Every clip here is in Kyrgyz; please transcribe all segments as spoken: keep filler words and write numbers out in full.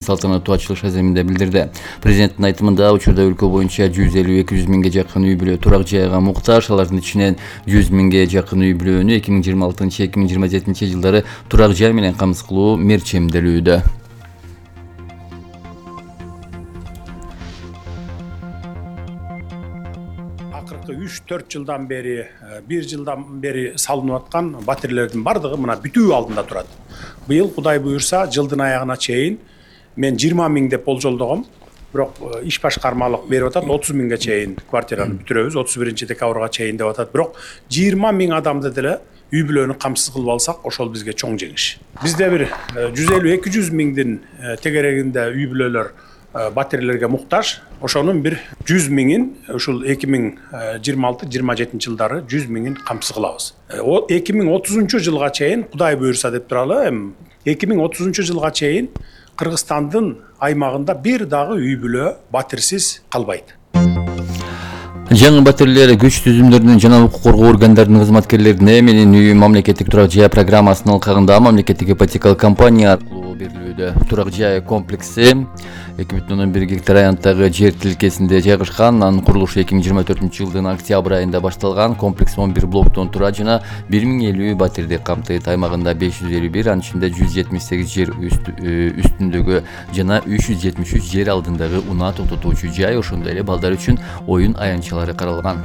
салтанаттуу ачылыш аземинде билдирди. Президенттин айтымында учурда өлкө боюнча жүз элүү эки жүз миңге жакын үй бүлө турак жайга муктаж, алардын ичинен жүз миңге жакын үй бүлөнү эки миң жыйырма алтынчы эки миң жыйырма жетинчи жылдары турак жай менен камсыз кылуу мерчемделүүдө. Акыркы үч төрт жылдан бери, бир жылдан бери салынып аткан батирелердин бардыгы мына бүтүү алдында турат. Быйыл Кудай буюрса жылдын аягына чейин мен жыйырма миң деп болжолдогом, бирок иш башкармалык берип атат отуз миңге чейин квартираны бүтүрөбүз, отуз биринчи декабрга чейин деп атат. Бирок жыйырма миң адамды деле үй бүлөнү камсыз кылып алсак, ошол бизге чоң жеңиш. Бизде бир жүз элүү эки жүз миңдин тегерегинде үй бүлөлөр батирелерге муктаж, ошонун бир жүз миңин ушул эки миң жыйырма алты жыйырма жетинчи жылдары жүз миңин камсыз кылабыз. эки миң отузунчу жылга чейин Кудай буюрса деп туралы, эми эки миң отузунчу жылга чейин Кыргызстандын аймагында бир дагы үй бүлө батирсиз калбайт. Жаңы батирлер күч түзүмдөрүнүн жана укук коргоо органдарынын кызматкерлерине менин үй мамлекеттик турак жай программасынын алкагында мамлекеттик ипотекалык компания аркылуу берилүүдө. Турак жай комплекси эки бүтүн ондон бир гектар аянттагы жер тилкесинде жайгашкан. Анын курулушу эки миң жыйырма төртүнчү жылдын октябрь айында башталган. Комплекс он бир блоктон турат жана бир миң элүү батирди камтыйт. Аймагында беш жүз элүү бир, анын ичинде жүз жетимиш сегиз жер үстүндөгү жана үч жүз жетимиш үч жер алдындагы унаа токтотуучу жай, ошондой эле балдар үчүн оюн аянтчалары каралган.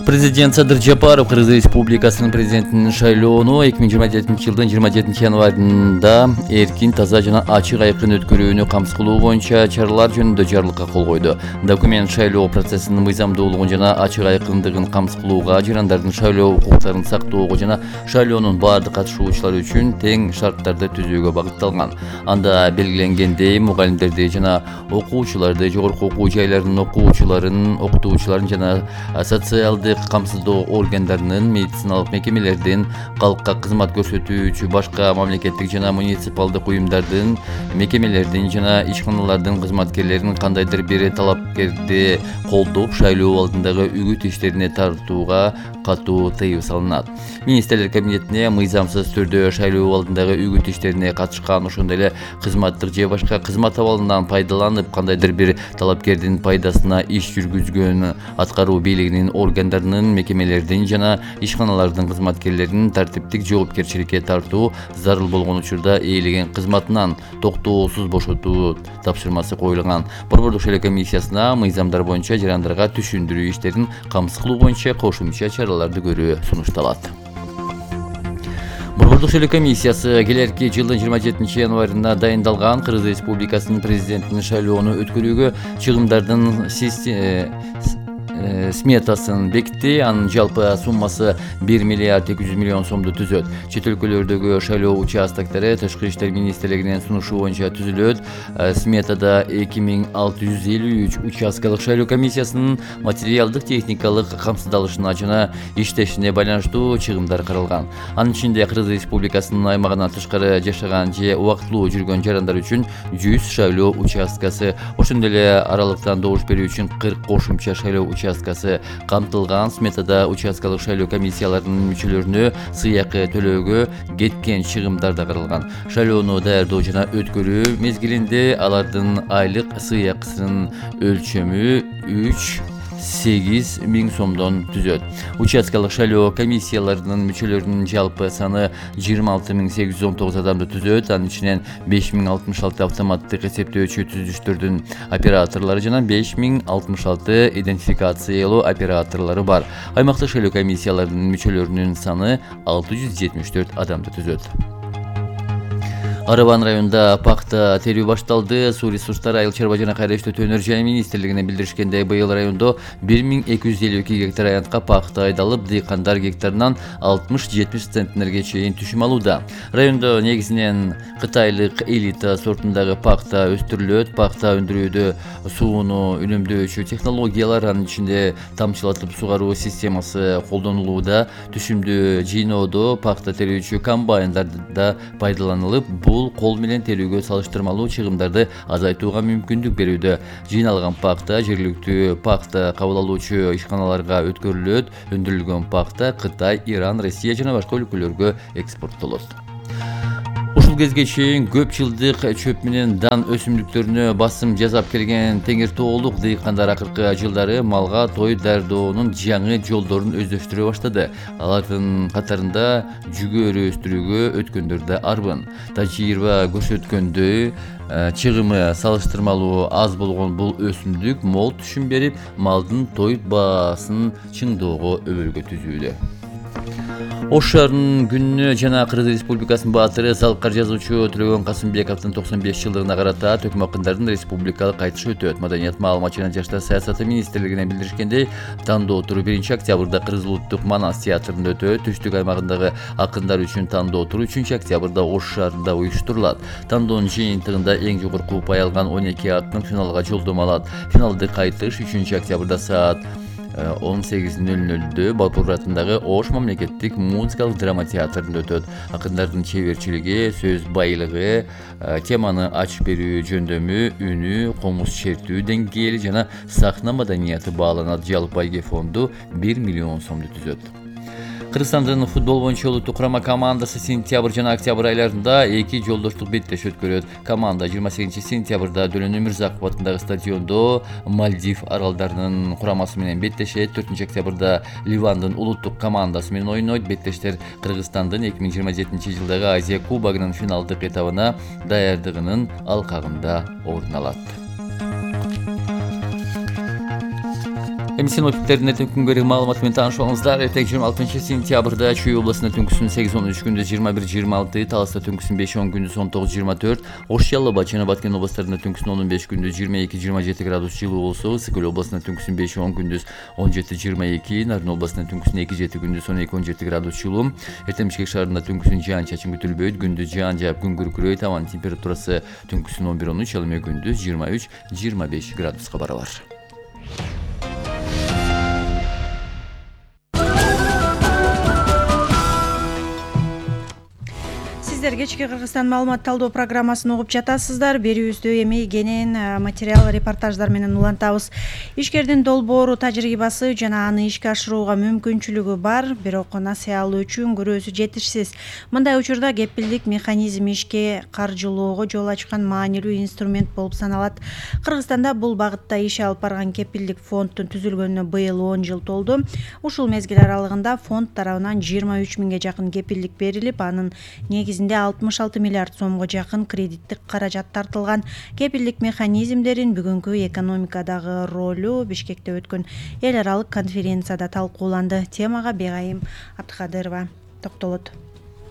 Президент Садыр Жапаров Кыргыз Республикасынын президентинин шайлоону эки миң жыйырма жетинчи жылдын жыйырма жетинчи январында эркин, таза жана ачык айкын өткөрүүнү камсыз кылуу боюнча чаралар жөнүндө жарлыкка кол койду. Документ шайлоо процессинин мыйзамдуулугун жана ачык айкындыгын камсыз кылууга, жарандардын шайлоо укуктарын сактоого жана шайлоонун баардык катышуучулары үчүн тең шарттарды түзүүгө багытталган. Анда белгиленгендей, мугалимдерди жана окуучуларды, жогорку окуу жайларынын окуучуларын, окутуучуларын жана социалдык камсыздоо органдарынын, медициналык мекемелердин, калкка кызмат көрсөтүүчү башка мамлекеттик жана муниципалдык уюмдардын, мекемелердин жана ишканалардын кызматкерлерин кандайдыр бир талапкерди колдоп, шайлоо алдындагы үгүт иштерине тартууга катуу тыюу салынат. Министрлер кабинетине мыйзамсыз түрдө шайлоо алдындагы үгүт иштерине катышкан, ошондой эле кызматтык же башка кызмат абалынан пайдаланып, кандайдыр бир талапкердин пайдасына иш жүргүзгөн аткаруу бийлигинин органдар мекемелердин жана ишканалардын кызматкерлерин тартиптик жоопкерчиликке тартуу зарыл болгон учурда ээлеген кызматынан токтоосуз бошотуу тапшырмасы коюлган. Борбордук шайлоо комиссиясына мыйзамдар боюнча жарандарга түшүндүрүү иштерин камсыз кылуу боюнча кошумча чараларды көрүү сунушталат. Борбордук шайлоо комиссиясы келерки жылдын жыйырма жетинчи январында дайындалган Кыргыз Республикасынын президентинин шайлоону өткөрүүгө чыгымдардын сметасын бекитти. Анын жалпы суммасы бир миллиард эки жүз миллион сомду түзөт. Чет өлкөлөрдөгү шайлоо участоктори Тышкы иштер министрлигинин сунушу боюнча түзүлөт. Сметада эки миң алты жүз элүү үч участкалык шайлоо комиссиясынын материалдык техникалык камсыздалышына жана иштешине байланыштуу чыгымдар каралган. Анын ичинде Кыргыз Республикасынын аймагынан тышкары жашаган же убактылуу жүргөн жарандар үчүн жүз шайлоо участкасы, ошондой эле аралыктан добуш берүү үчүн кырк кошумча шайлоо участкасы камтылган. Сметада участкалык шайлоо комиссияларынын мүчөлөрүнө сыйакы төлөөгө кеткен чыгымдар да каралган. Шайлоону даярдоо жана өткөрүү мезгилинде алардын айлык сыйакысынын өлчөмү үч сегиз миң сомдон түзөт. Участкалык шайлоо комиссияларынын мүчөлөрүнүн жалпы саны жыйырма алты миң сегиз жүз он тогуз адамды түзөт. Анын ичинен беш миң алтымыш алты автоматтык эсептөөчү түзүштөрдүн операторлору жана беш миң алтымыш алты идентификациялоо операторлору бар. Аймактык шайлоо комиссияларынын мүчөлөрүнүн саны алты жүз жетимиш төрт адамды түзөт. Арабан районунда пахта терүү башталды. Суу ресурстары, айыл чарба жана кайра иштетүү өнөр жай министрлигине билдиришкендей, быйыл райондо бир миң эки жүз элүү эки гектар аянтка пахта айдалып, дыйкандар гектарынан алтымыш жетимиш центнерге чейин түшүм алууда. Райондо негизинен кытайлык элита сортундагы пахта өстүрүлөт. Пахта өндүрүүдө сууну үнөмдөөчү технологиялар, анын ичинде тамчылатып сугаруу системасы колдонулууда. Түшүмдү жыйноодо пахта терүүчү комбайндар да пайдаланылып, бул кол менен терүүгө салыштырмалуу чыгымдарды азайтууга мүмкүндүк берүүдө. Жыйналган пахта жергиликтүү пахта кабыл алуучу ишканаларга өткөрүлөт. Өндүрүлгөн пахта Кытай, Иран, Россия жана башка өлкөлөргө экспорттолот. ушул кезге чейин көп жылдык чөп менен дан өсүмдүктөрүнө басым жасап келген теңир тоолук дыйкандар акыркы жылдары малга той даярдоонун жаңы жолдорун өздөштүрө баштады. Алардын катарында жүгөрү өстүрүүгө өткөндөр да арбын. Тажрыйба көрсөткөндөй, чыгымы салыштырмалуу аз болгон бул өсүмдүк мол түшүм берип, малдын той баасын чыңдоого өбөлгө түзүүдө. Ош шаарынын күнүнө жана Кыргыз Республикасынын баатыры, залкар жазуучу Төлөгөн Касымбековдун токсон беш жылдыгына карата Төкмө акындардын республикалык кайтышы өтөт. Маданият, маалымат жана жаштар саясаты министрлигинен билдиришкендей, тандоо туру биринчи октябрда Кыргыз улуттук Манас театрында өтөт. Түштүк аймагындагы акындар үчүн тандоо туру үчүнчү октябрда Ош шаарында уюштурулат. Тандоонун жыйынтыгында эң жогорку упай алган он эки акын финалга жолдомо алат. Финалдык кайтыш үчүнчү октябрда саат он сегиз нөл нөлдө Балпур атындагы Ош мамлекеттик музыкалык драма театрында өтөт. Акындардын чеберчилиги, сөз байлыгы, теманы ачып берүү жөндөмү, үнү, комуз чертүү деңгээли жана сахна маданияты бааланат. Жалпы байге фонду бир миллион сомду түзөт. Кыргызстандын футбол боюнча улуттук курама командасы сентябрь жана октябрь айларында эки жолдоштук беттеш өткөрөт. Команда жыйырма сегизинчи сентябрда Дөлөн Өмүрзаков атындагы стадиондо Мальдив аралдарынын курамасы менен беттешет. төртүнчү октябрда Ливандын улуттук командасы менен ойнойт. Беттештер Кыргызстандын эки миң жыйырма жетинчи жылдагы Азия кубогунун финалдык этабына даярдыгынын алкагында орун алат. Эми синоптиктердин эртең күнгөрү маалыматы менен таанышып алыңыздар. Эртең жыйырма алтынчы сентябрда Чүй областында түнкүсүн сегиз он үч, күндүз жыйырма бир жыйырма алты, Таласта түнкүсүн беш он, күндүз он тогуз жыйырма төрт, Ош, Жалал Абад жана Баткен областарында түнкүсүн он беш, күндүз жыйырма эки жыйырма жети градус жылуу болсо, Ысык Көл областында түнкүсүн беш он, күндүз он жети жыйырма эки, Нарын областында түнкүсүн эки жети, күндүз он эки он жети градус жылуу. Эртең Бишкек шаарында түнкүсүн жаан-чачын күтүлбөйт, күндүз жаан жаап күн күркүрөйт, абанын температурасы түнкүсүн он бир он үч, ал эми күндүз жыйырма үч жыйырма беш градуска барабар. Сиздер кечки Кыргызстан маалымат талдоо программасын угуп жатасыздар. Берүүбүздү эми кенен материал, репортаждар менен улантабыз. Ишкердин долбоору, тажрыйбасы жана аны ишке ашырууга мүмкүнчүлүгү бар, бирок насыялуу үчүн күрөөсү жетишсиз. Мындай учурда кепилдик механизми ишке каржылоого жол ачкан маанилүү инструмент болуп саналат. Кыргызстанда бул багытта иш алып барган кепилдик фонддун түзүлгөнүнө быйыл он жыл толду. Ушул мезгил аралыгында фонд тарабынан жыйырма үч миңге жакын кепилдик берилип, анын негизинде алтымыш алты миллиард сомго жакын кредиттик каражат тартылган. Кепилдик механизмдерин бүгүнкү экономикадагы ролу Бишкекте өткөн эл аралык конференцияда талкууланды. Темага Бегайым Абдыкадырова токтолот.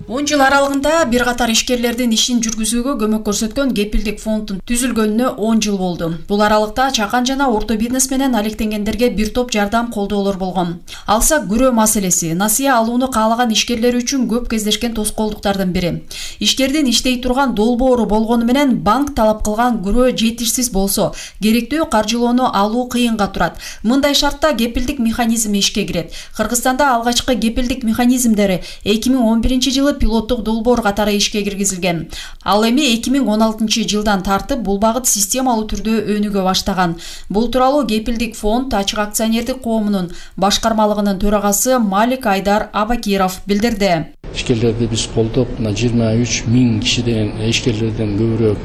он жыл аралыгында бир катар ишкерлердин ишин жүргүзүүгө көмөк көрсөткөн кепилдик фонддун түзүлгөнүнө он жыл болду. Бул аралыкта чакан жана орто бизнес менен алектенгендерге бир топ жардам колдоолор болгон. Алсак, күрөө маселеси насыя алууну каалаган ишкерлер үчүн көп кездешкен тоскоолдуктардын бири. Ишкердин иштей турган долбоору болгону менен банк талап кылган күрөө жетишсиз болсо, керектүү каржылоону алуу кыйынга турат. Мындай шартта кепилдик механизми ишке кирет. Кыргызстанда алгачкы кепилдик механизмдери эки миң он биринчи жылы пилоттук долбоор катары ишке киргизилген. Ал эми эки миң он алтынчы жылдан тартып бул багыт системалуу түрдө өнүгө баштаган. Бул тууралуу Кепилдик фонд ачык акционердик коомунун башкармалыгынын төрагасы Малик Айдар Абакиров билдирди. Ишкерлерди биз колдоп, жыйырма үч миң кишиден ишкерлерден көбүрөөк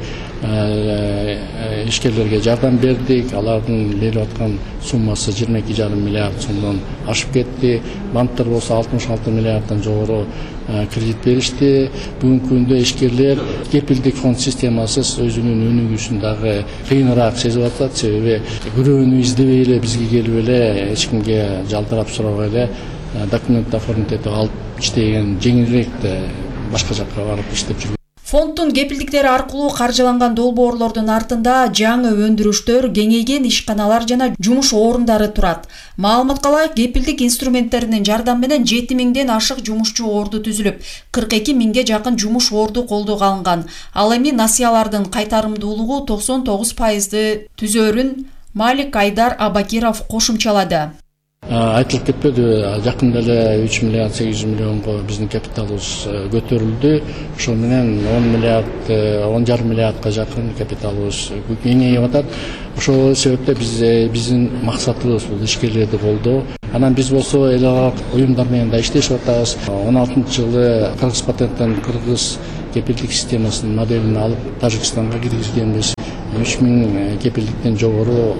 ишкерлерге жардам бердик. Алардын берип аткан суммасы жыйырма эки жарым миллиард сомдон ашып кетти. Банктар болсо алтымыш алты миллиарддан жогору кредит беришти. Бүгүнкү күндө ишкерлер кепилдик фонд системасыз өзүнүн өнүгүүсүн дагы кыйыныраак сезип атат. Себеби күрөөнү издебей эле бизге келип эле эч кимге жалдырап сурабай эле документ оформить этип алып иштеген жеңилирээк башка жакка барып иштеп жүргөн. Фонддун кепилдиктери аркылуу каржыланган долбоорлордун артында жаңы өндүрүштөр, кеңейген ишканалар жана жумуш орундары турат. Маалыматка ылайык, кепилдик инструменттеринин жардамы менен жети миңден ашык жумушчу орду түзүлүп, кырк эки миңге жакын жумуш орду колдоого алынган. Ал эми насыялардын кайтарымдуулугу токсон тогуз пайызды түзөрүн Малик Айдар Абакиров кошумчалады. Айтылып кетпеди, жакында эле үч миллиард сегиз жүз миллионго биздин капиталыбыз көтөрүлдү. Ошол менен он миллиард, он жарым миллиардка жакын капиталыбыз кеңейип атат. Ошол себептен биз биздин максатыбыз бул ишкерлерди колдоо. Анан биз болсо эл аралык уюмдар менен да иштешип атабыз. он алтынчы жылы Кыргыз патенттен Кыргыз кепилдик системасынын моделин алып Тажикстанга киргизгенбиз. үч миң кепилдиктен жогору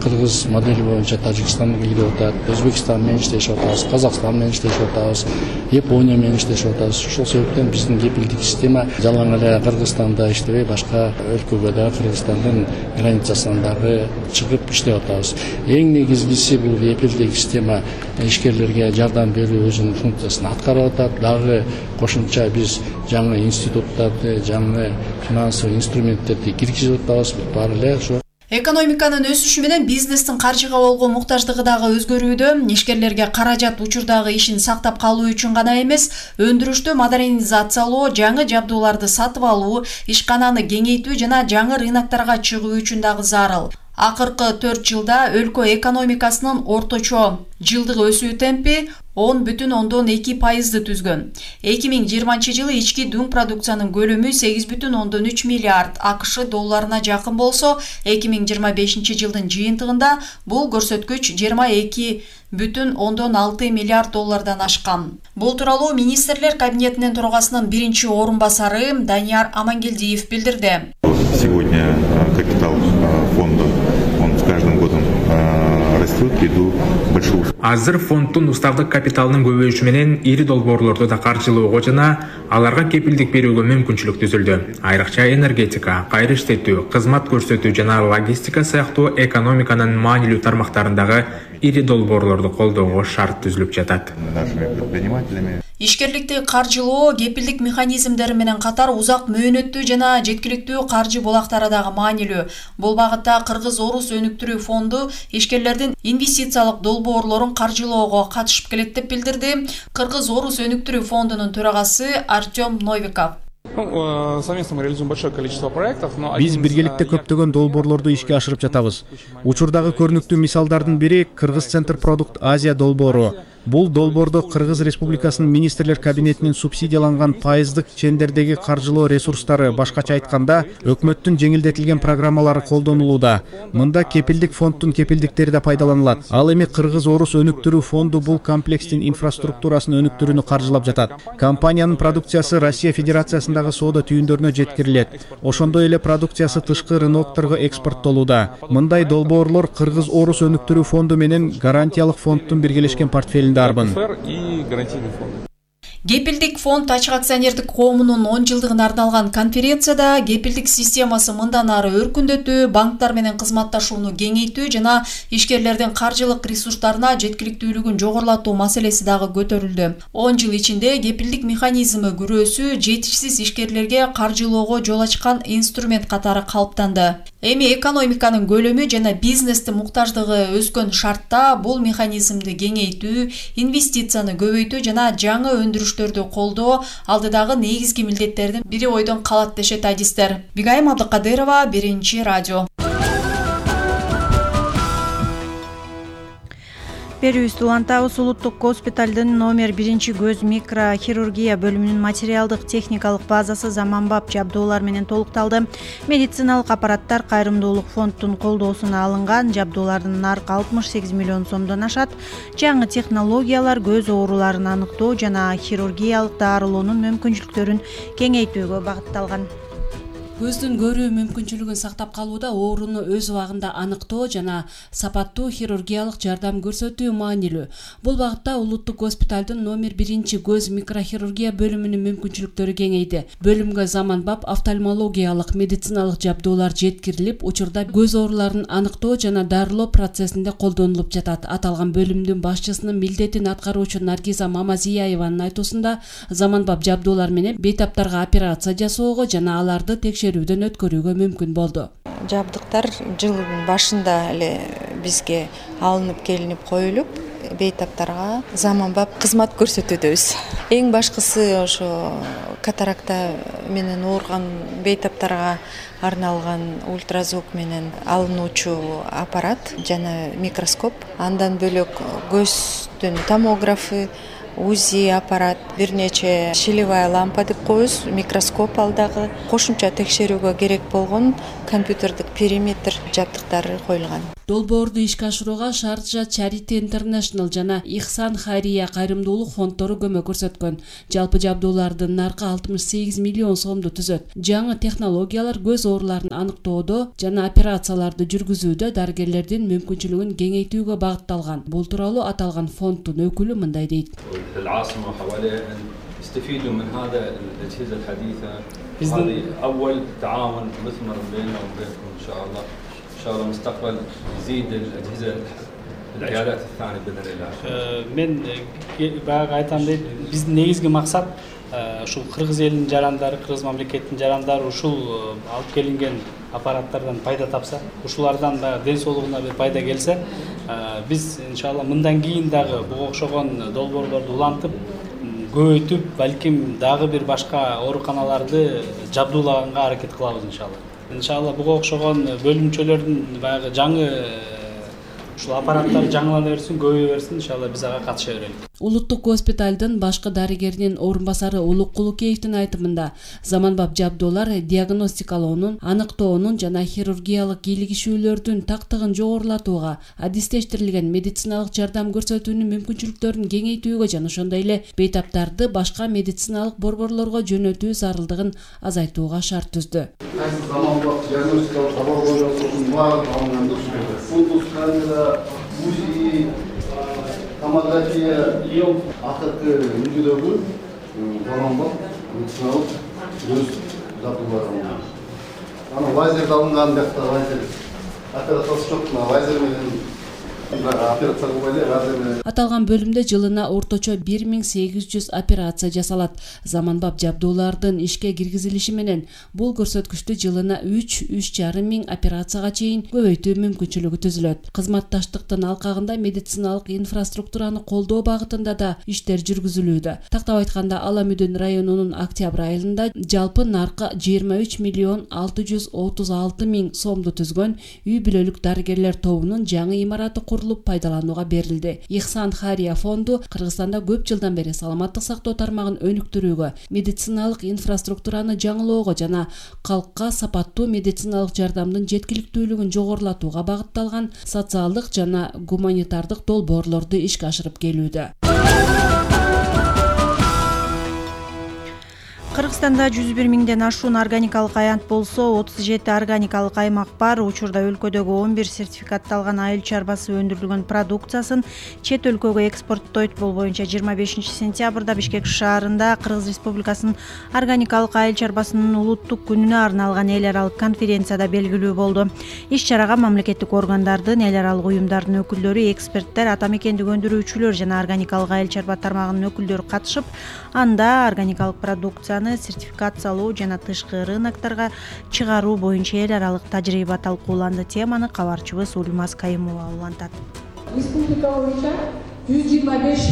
кыргыз модели боюнча Тажикстанга кирип атат, Өзбекстан менен иштешип атабыз, Казакстан менен иштешип атабыз, Япония менен иштешип атабыз. Ошол себептен биздин кепилдик система жалаң эле Кыргызстанда иштебей, башка өлкөгө да Кыргызстандын границасынан дагы чыгып иштеп атабыз. Эң негизгиси бул кепилдик система ишкерлерге жардам берүү өзүнүн функциясын аткарып атат. Дагы кошумча биз жаңы институттарды, жаңы финансовый инструменттерди киргизип атабыз. Баары эле ошо Экономиканын өсүшү менен бизнестин каржыга болгон муктаждыгы дагы өзгөрүүдө. Ишкерлерге каражат учурдагы ишин сактап калуу үчүн гана эмес, өндүрүштү модернизациялоо, жаңы жабдууларды сатып алуу, ишкананы кеңейтүү жана жаңы рыноктарга чыгуу үчүн дагы зарыл. Акыркы төрт жылда өлкө экономикасынын орточо жылдык өсүү темпи он бүтүн ондон эки пайызды түзгөн. эки миң жыйырманчы жылы ички дүң продукциянын көлөмү сегиз бүтүн ондон үч миллиард АКШ долларына жакын болсо, эки миң жыйырма бешинчи жылдын жыйынтыгында бул көрсөткүч жыйырма эки бүтүн ондон алты миллиард доллардан ашкан. Бул тууралуу министрлер кабинетинин төрагасынын биринчи орун басары Данияр Амангелдиев билдирди. Сегодня капитал фонда, он с каждым годом растет ввиду большого. Азыр фонддун уставдык капиталынын көбөйүшү менен ири долбоорлорду да каржылоого жана аларга кепилдик берүүгө мүмкүнчүлүк түзүлдү. Айрыкча энергетика, кайра иштетүү, кызмат көрсөтүү жана логистика сыяктуу экономиканын маанилүү тармактарындагы ири долбоорлорду колдоого шарт түзүлүп жатат. Ишкерликти каржылоо кепилдик механизмдери менен катар узак мөөнөттүү жана жеткиликтүү каржы булактары дагы маанилүү. Бул багытта Кыргыз-Орус өнүктүрүү фонду ишкерлердин инвестициялык долбоорлорун каржылоого катышып келет деп билдирди Кыргыз-Орус өнүктүрүү фондунун төрагасы Артем Новиков. Биз биргеликте көптөгөн долбоорлорду ишке ашырып жатабыз. Учурдагы көрүнүктүү мисалдардын бири Кыргыз Центр Продукт Азия долбоору. Бул долбоордо Кыргыз Республикасынын министрлер кабинетинин субсидияланган пайыздык чендердеги каржылоо ресурстары, башкача айтканда, өкмөттүн жеңилдетилген программалары колдонулууда. Мында кепилдик фонддун кепилдиктери да пайдаланылат. Ал эми Кыргыз-Орус өнүктүрүү фонду бул комплекстин инфраструктурасын өнүктүрүүнү каржылап жатат. Компаниянын продукциясы Россия Федерациясындагы соода түйүндөрүнө жеткирилет. Ошондой эле продукциясы тышкы рынокторго экспорттолууда. Мындай долбоорлор Кыргыз-Орус өнүктүрүү фонду менен гарантиялык фонддун биргелешкен портфелинде арбын. Кепилдик фонд ачык акционердик коомунун он жылдыгына арналган конференцияда кепилдик системасы мындан ары өркүндөтүү, банктар менен кызматташууну кеңейтүү жана ишкерлердин каржылык ресурстарына жеткиликтүүлүгүн жогорулатуу маселеси дагы көтөрүлдү. он жыл ичинде кепилдик механизми күрөөсү жетишсиз ишкерлерге каржылоого жол ачкан инструмент катары калыптанды. Эми экономиканын көлөмү жана бизнестин муктаждыгы өскөн шартта бул механизмди кеңейтүү, инвестицияны көбөйтүү жана жаңы өндүрүштөрдү колдоо алдыдагы негизги милдеттердин бири ойдон калат дешет адистер. Бигайым Абдыкадырова, Биринчи радио. Берүүбүздү улантабыз. Улуттук госпиталдын номер биринчи көз микрохирургия бөлүмүнүн материалдык техникалык базасы заманбап жабдуулар менен толукталды. Медициналык аппараттар Кайрымдуулук фондунун колдоосуна алынган. Жабдуулардын наркы алтымыш сегиз миллион сомдон ашат. Жаңы технологиялар көз ооруларын аныктоо жана хирургиялык дарылоонун мүмкүнчүлүктөрүн кеңейтүүгө багытталган. Көздүн көрүү мүмкүнчүлүгүн сактап калууда ооруну өз убагында аныктоо жана сапаттуу хирургиялык жардам көрсөтүү маанилүү. Бул багытта улуттук госпиталдын номер биринчи көз микрохирургия бөлүмүнүн мүмкүнчүлүктөрү кеңейди. Бөлүмгө заманбап офтальмологиялык медициналык жабдуулар жеткирилип, учурда көз ооруларын аныктоо жана дарылоо процессинде колдонулуп жатат. Аталган бөлүмдүн башчысынын милдетин аткаруучу Наргиза Мамазиеванын айтуусунда, заманбап жабдуулар менен бейтаптарга операция жасоого жана аларды текшерүүдөн өткөрүүгө мүмкүн болду. Жабдыктар жылдын башында эле бизге алынып келинип коюлуп, бейтаптарга заманбап кызмат көрсөтүүбүз. Эң башкысы ошо катаракта менен ооруган бейтаптарга арналган ультразвук менен алынуучу аппарат жана микроскоп. Андан бөлөк көздүн томографы, УЗИ аппарат, бир нече щелевая лампа деп коебуз, микроскоп алдагы кошумча текшерүүгө керек болгон компьютердик периметр жабдыктары коюлган. Долбоорду ишке ашырууга Шарджа Charity International жана Ихсан Хайрия кайрымдуулук фонддору көмөк көрсөткөн. Жалпы жабдуулардын наркы алтымыш сегиз миллион сомду түзөт. Жаңы технологиялар көз ооруларын аныктоодо жана операцияларды жүргүзүүдө дарыгерлердин мүмкүнчүлүгүн кеңейтүүгө багытталган. Бул тууралуу аталган фонддун өкүлү мындай дейт. يستفيدوا من هذا الأجهزة الحديثة. هذه أول تعاون مثمر بيننا وبينكم إن شاء الله. إن شاء الله مستقبل يزيد الأجهزة العيادات الثانية بإذن الله. من باغا айтамын, биздин негизги максат ушул кыргыз элинин жарандары, кыргыз мамлекетинин жарандары ушул алып келинген аппараттардан пайда тапса, ушулардан да ден соолугуна бир пайда келсе, биз иншалла мындан кийин дагы буга окшогон долбоорлорду улантып, көбөйтүп, балким дагы бир башка ооруканаларды жабдуулаганга аракет кылабыз иншалла. Иншалла буга окшогон бөлүмчөлөрдүн баягы жаңы ушул аппараттар жаңылана берсин, көбөйө берсин, иншалла биз ага катыша берели. Улуттук госпиталдын башкы дарыгеринин орун басары Улук Кулукеевдин айтымында заманбап жабдуулар диагностикалоонун, аныктоонун жана хирургиялык кийлигишүүлөрдүн тактыгын жогорулатууга, адистештирилген медициналык жардам көрсөтүүнүн мүмкүнчүлүктөрүн кеңейтүүгө жана ошондой эле бейтаптарды башка медициналык борборлорго жөнөтүү зарылдыгын азайтууга шарт түздү. Заманбап диагностикалык лабораториялардын баардыгы алынган. Фокус камера, УЗИ, томография, акыркы үлгүдөгү заманбап медициналык көз жабдуулар алынган. Анан лазер алынган, бакта лазер операциясы жок, лазер менен операция кылбайлы, лазер менен. Аталган бөлүмдө жылына орточо бир миң сегиз жүз операция жасалат. Заманбап жабдуулардын ишке киргизилиши менен бул көрсөткүчтү жылына үч үч жарым миң операцияга чейин көбөйтүү мүмкүнчүлүгү түзүлөт. Кызматташтыктын алкагында медициналык инфраструктураны колдоо багытында да иштер жүргүзүлүүдө. Тактап айтканда, Ала Мүдүн районунун Октябрь айылында жалпы наркы жыйырма үч миллион алты жүз отуз алты миң сомду түзгөн үй бүлөлүк дарыгерлер тобунун жаңы имараты курулуп пайдаланууга берилди. Ихсан Хайрия фонду Кыргызстанда көп жылдан бери саламаттык сактоо тармагын өнүктүрүүгө, медициналык инфраструктураны жаңылоого жана калкка сапаттуу медициналык жардамдын жеткиликтүүлүгүн жогорулатууга багытталган социалдык жана гуманитардык долбоорлорду ишке ашырып келүүдө. Кыргызстанда жүз бир миңден ашуун органикалык аянт болсо, отуз жети органикалык аймак бар. Учурда өлкөдөгү он бир сертификатталган айыл чарбасы өндүрүлгөн продукциясын чет өлкөгө экспорттойт. Бул боюнча жыйырма бешинчи сентябрда Бишкек шаарында Кыргыз Республикасынын органикалык айыл чарбасынын улуттук күнүнө арналган эл аралык конференцияда белгилүү болду. Иш-чарага мамлекеттик органдардын, эл аралык уюмдардын өкүлдөрү, эксперттер, ата мекендик өндүрүүчүлөр жана органикалык айыл чарба тармагынын өкүлдөрү катышып, анда органикалык продукцияны сертификациялоо жана тышкы рынокторго чыгаруу боюнча эл аралык тажрыйба талкууланды. Теманы кабарчыбыз Ульмаз Кайымова улантат. Республика боюнча жүз жыйырма беш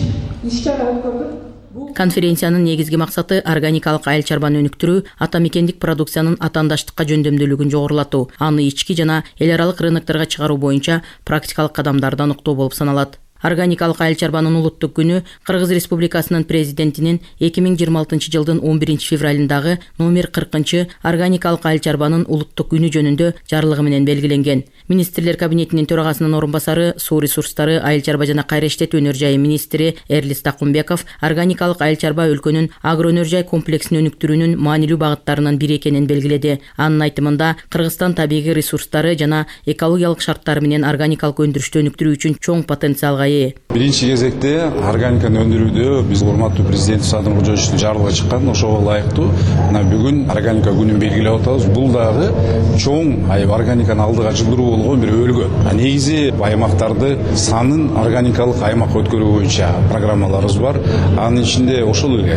иш-чара өткөрүлдү. Конференциянын негизги максаты органикалык айыл чарбаны өнүктүрүү, ата мекендик продукциянын атаандаштыкка жөндөмдүүлүгүн жогорулатуу, аны ички жана эл аралык рынокторго чыгаруу боюнча практикалык кадамдарды аныктоо болуп саналат. Органикалык айыл чарбанын улуттук күнү Кыргыз Республикасынын президентинин эки миң жыйырма алтынчы жылдын он биринчи февралындагы номер кыркынчы органикалык айыл чарбанын улуттук күнү жөнүндө жарлыгы менен белгиленген. Министрлер кабинетинин төрагасынын орун басары, суу ресурстары, айыл чарба жана кайра иштетүү өнөр жайы министри Эрлис Такумбеков органикалык айыл чарба өлкөнүн агро өнөр жай комплексин өнүктүрүүнүн маанилүү багыттарынын бири экенин белгиледи. Анын айтымында, Кыргызстан табигый ресурстары жана экологиялык шарттары менен органикалык өндүрүштү өнүктүрүү үчүн чоң потенциалга ээ. Биринчи кезекте органиканы өндүрүүдө биз урматтуу президент Садыр Кожоевичтин жарлыгы чыккан, ошого ылайыктуу мына бүгүн органика күнүн белгилеп атабыз. Бул дагы чоң органиканы алдыга жылдыруу болгон бир өлгө. Негизи аймактарды санын органикалык аймакка өткөрүү боюнча программаларыбыз бар. Анын ичинде ошол эле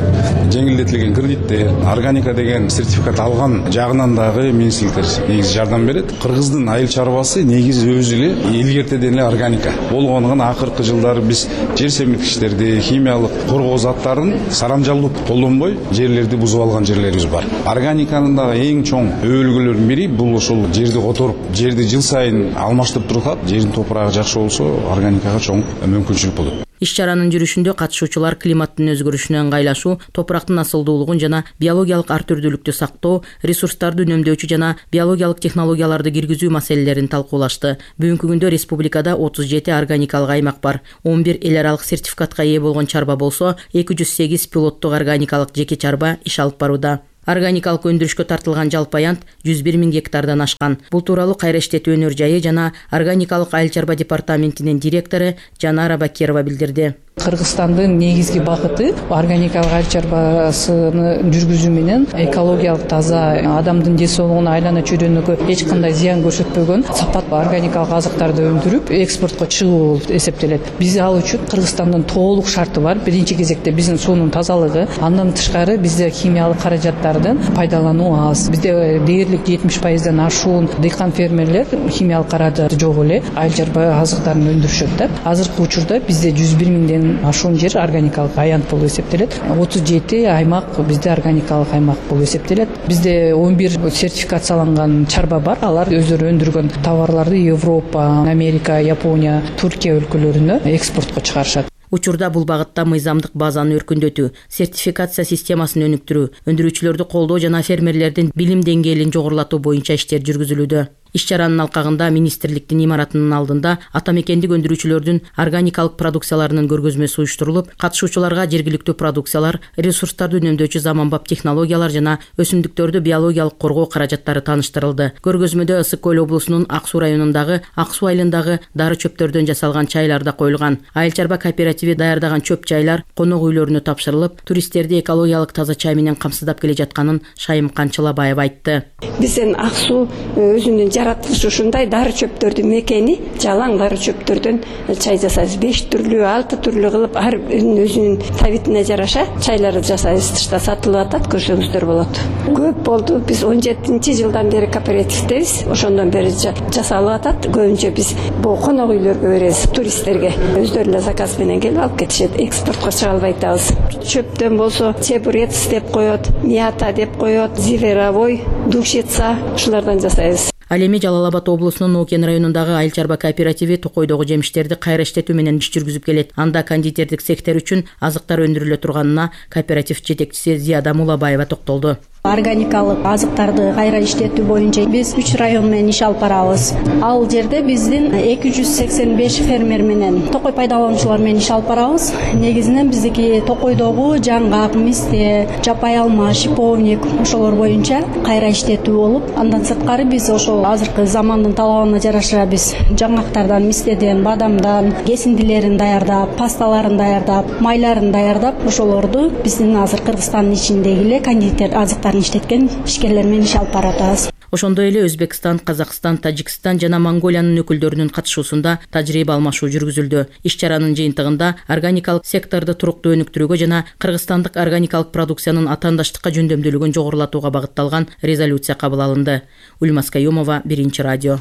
жеңилдетилген кредиттер, органика деген сертификат алган жагынан дагы министрликтер негизи жардам берет. Кыргыздын айыл чарбасы негизи өзү эле илгертеден эле органика болгондугун акыркы жылдары биз жер семирткичтерди, химиялык коргоо заттарын сарамжалдуу колдонбой, жерлерди бузуп алган жерлерибиз бар. Органиканын дагы эң чоң өбөлгөлөрүнүн бири бул ошол жерди которуп, жерди жыл сайын алмаштырып турсак, жердин топурагы жакшы болсо, органикага чоң мүмкүнчүлүк болот. Иш-чаранын жүрүшүндө катышуучулар климаттын өзгөрүшүнө ыңгайлашуу, топурактын асылдуулугун жана биологиялык ар түрдүүлүктү сактоо, ресурстарды үнөмдөөчү жана биологиялык технологияларды киргизүү маселелерин талкуулашты. Бүгүнкү күндө республикада отуз жети органикалык аймак бар. он бир эл аралык сертификатка ээ болгон чарба болсо, эки жүз сегиз пилоттук органикалык жеке чарба иш алып барууда. Органикалык өндүрүшкө тартылган жалпы аянт жүз бир миң гектардан ашкан. Бул тууралуу Кайра иштетүү өнөр жайы жана органикалык айыл чарба департаментинин директору Жанара Бакирова билдирди. Кыргызстандын негизги багыты органикалык айыл чарбасыны жүргүзүү менен экологиялык таза, адамдын ден соолугуна, айлана чөйрөнүккө эч кандай зыян көрсөтпөгөн сапаттуу органикалык азыктарды өндүрүп экспортко чыгуу болуп эсептелет. Биз ал үчүн Кыргызстандын толук шарты бар. Биринчи кезекте биздин суунун тазалыгы, андан тышкары бизде химиялык каражаттардын пайдалануу аз. Бизде дээрлик жетимиш пайыздан ашуун дыйкан фермерлер химиялык каражаты жок эле айыл чарба азыктарын өндүрүшөт да. Азыркы учурда бизде жүз бир миңден ашуун жер органикалык аянт болуп эсептелет. отуз жети аймак бизде органикалык аймак болуп эсептелет. Бизде он бир сертификацияланган чарба бар. Алар өздөрү өндүргөн товарларды Европа, Америка, Япония, Туркия өлкөлөрүнө экспортко чыгарышат. Учурда бул багытта мыйзамдык базаны өркүндөтүү, сертификация системасын өнүктүрүү, өндүрүүчүлөрдү колдоо жана фермерлердин билим деңгээлин жогорулатуу боюнча иштер жүргүзүлүүдө. Иш-чаранын алкагында министрликтин имаратынын алдында атамекендик өндүрүүчүлөрдүн органикалык продукцияларынын көргөзмөсү уюштурулуп, катышуучуларга жергиликтүү продукциялар, ресурстарды үнөмдөөчү заманбап технологиялар жана өсүмдүктөрдү биологиялык коргоо каражаттары тааныштырылды. Көргөзмөдө Ысык көл облусунун Ак Суу районундагы Ак Суу айылындагы дары чөптөрдөн жасалган чайлар да коюлган. Айыл чарба кооперативи даярдаган чөп чайлар конок үйлөрүнө тапшырылып, туристтерди экологиялык таза чай менен камсыздап келе жатканын Шайым Канчылабаева айтты. Биздин Ак Суу өзүнүн жаратылышы ушундай дары чөптөрдүн мекени, жалаң дары чөптөрдөн чай жасайбыз. беш түрлүү, алты түрлүү кылып ар өзүнүн табитине жараша чайларды жасайбыз. Тышта сатылып атат, көрсөңүздөр болот. Көп болду. Биз он жетинчи жылдан бери кооперативдебиз. Ошондон бери жасалып атат. Көбүнчө биз бул конок үйлөргө беребиз, туристтерге. Өздөрү эле заказ менен келип алып кетишет. Экспортко чыга албай атабыз. Чөптөн болсо чебурец деп коет, мята деп коет, зверовой, душица, ушулардан жасайбыз. Ал эми Жалал Абад облусунун Нокен районундагы айыл чарба кооперативи токойдогу жемиштерди кайра иштетүү менен иш жүргүзүп келет. Анда кондитердик сектор үчүн азыктар өндүрүлө турганына кооператив жетекчиси Зияда Мулабаева токтолду. Органикалык азыктарды кайра иштетүү боюнча биз үч район менен иш алып барабыз. Ал жерде биздин эки жүз сексен беш фермер менен токой пайдалануучулар менен иш алып барабыз. Негизинен биздики токойдогу жаңгак, мисте, жапай алма, шиповник ошолор боюнча кайра иштетүү болуп, андан сырткары биз ошол азыркы замандын талабына жараша биз жаңгактардан, мистеден, бадамдан кесиндилерин даярдап, пасталарын даярдап, майларын даярдап, ошолорду биздин азыр Кыргызстандын ичиндеги эле кондитер азыктар иштеткен ишкерлер менен иш алып баратабыз. Ошондой эле Өзбекстан, Казакстан, Тажикстан жана Монголиянын өкүлдөрүнүн катышуусунда тажрыйба алмашуу жүргүзүлдү. Иш-чаранын жыйынтыгында органикалык секторду туруктуу өнүктүрүүгө жана кыргызстандык органикалык продукциянын атаандаштыкка жөндөмдүүлүгүн жогорулатууга багытталган резолюция кабыл алынды. Ульмас Каюмова, Биринчи радио.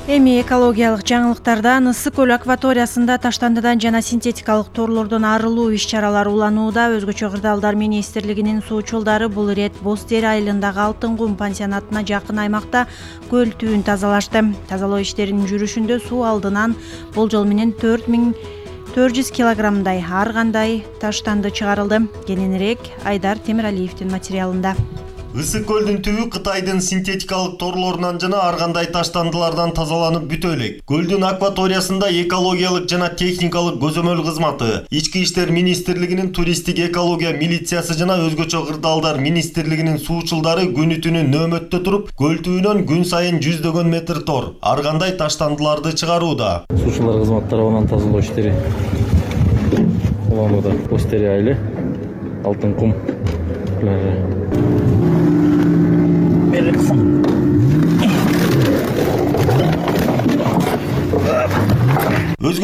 Эми экологиялык жаңылыктардан Ысык көл акваториясында таштандыдан жана синтетикалык торлордон арылуу иш-чаралары уланууда. Өзгөчө кырдаалдар министрлигинин суучулдары бул ирет Боз Тери айылындагы Алтын кум пансионатына жакын аймакта көл түбүн тазалашты. Тазалоо иштеринин жүрүшүндө суу алдынан болжол менен төрт миң төрт жүз килограммдай ар кандай таштанды чыгарылды. Кененирээк Айдар Темиралиевдин материалында. Ысык көлдүн түбү Кытайдын синтетикалык торлорунан жана ар кандай таштандылардан тазаланып бүтө элек. Көлдүн акваториясында экологиялык жана техникалык көзөмөл кызматы, Ички иштер министрлигинин туристтик экология милициясы жана өзгөчө кырдаалдар министрлигинин суучулдары күнү түнү нөөмөттө туруп, көл түбүнөн күн сайын жүздөгөн метр тор, ар кандай таштандыларды чыгарууда. Суучулар кызмат тарабынан тазалоо иштери уланууда. Боз Тери айылы, Алтын кум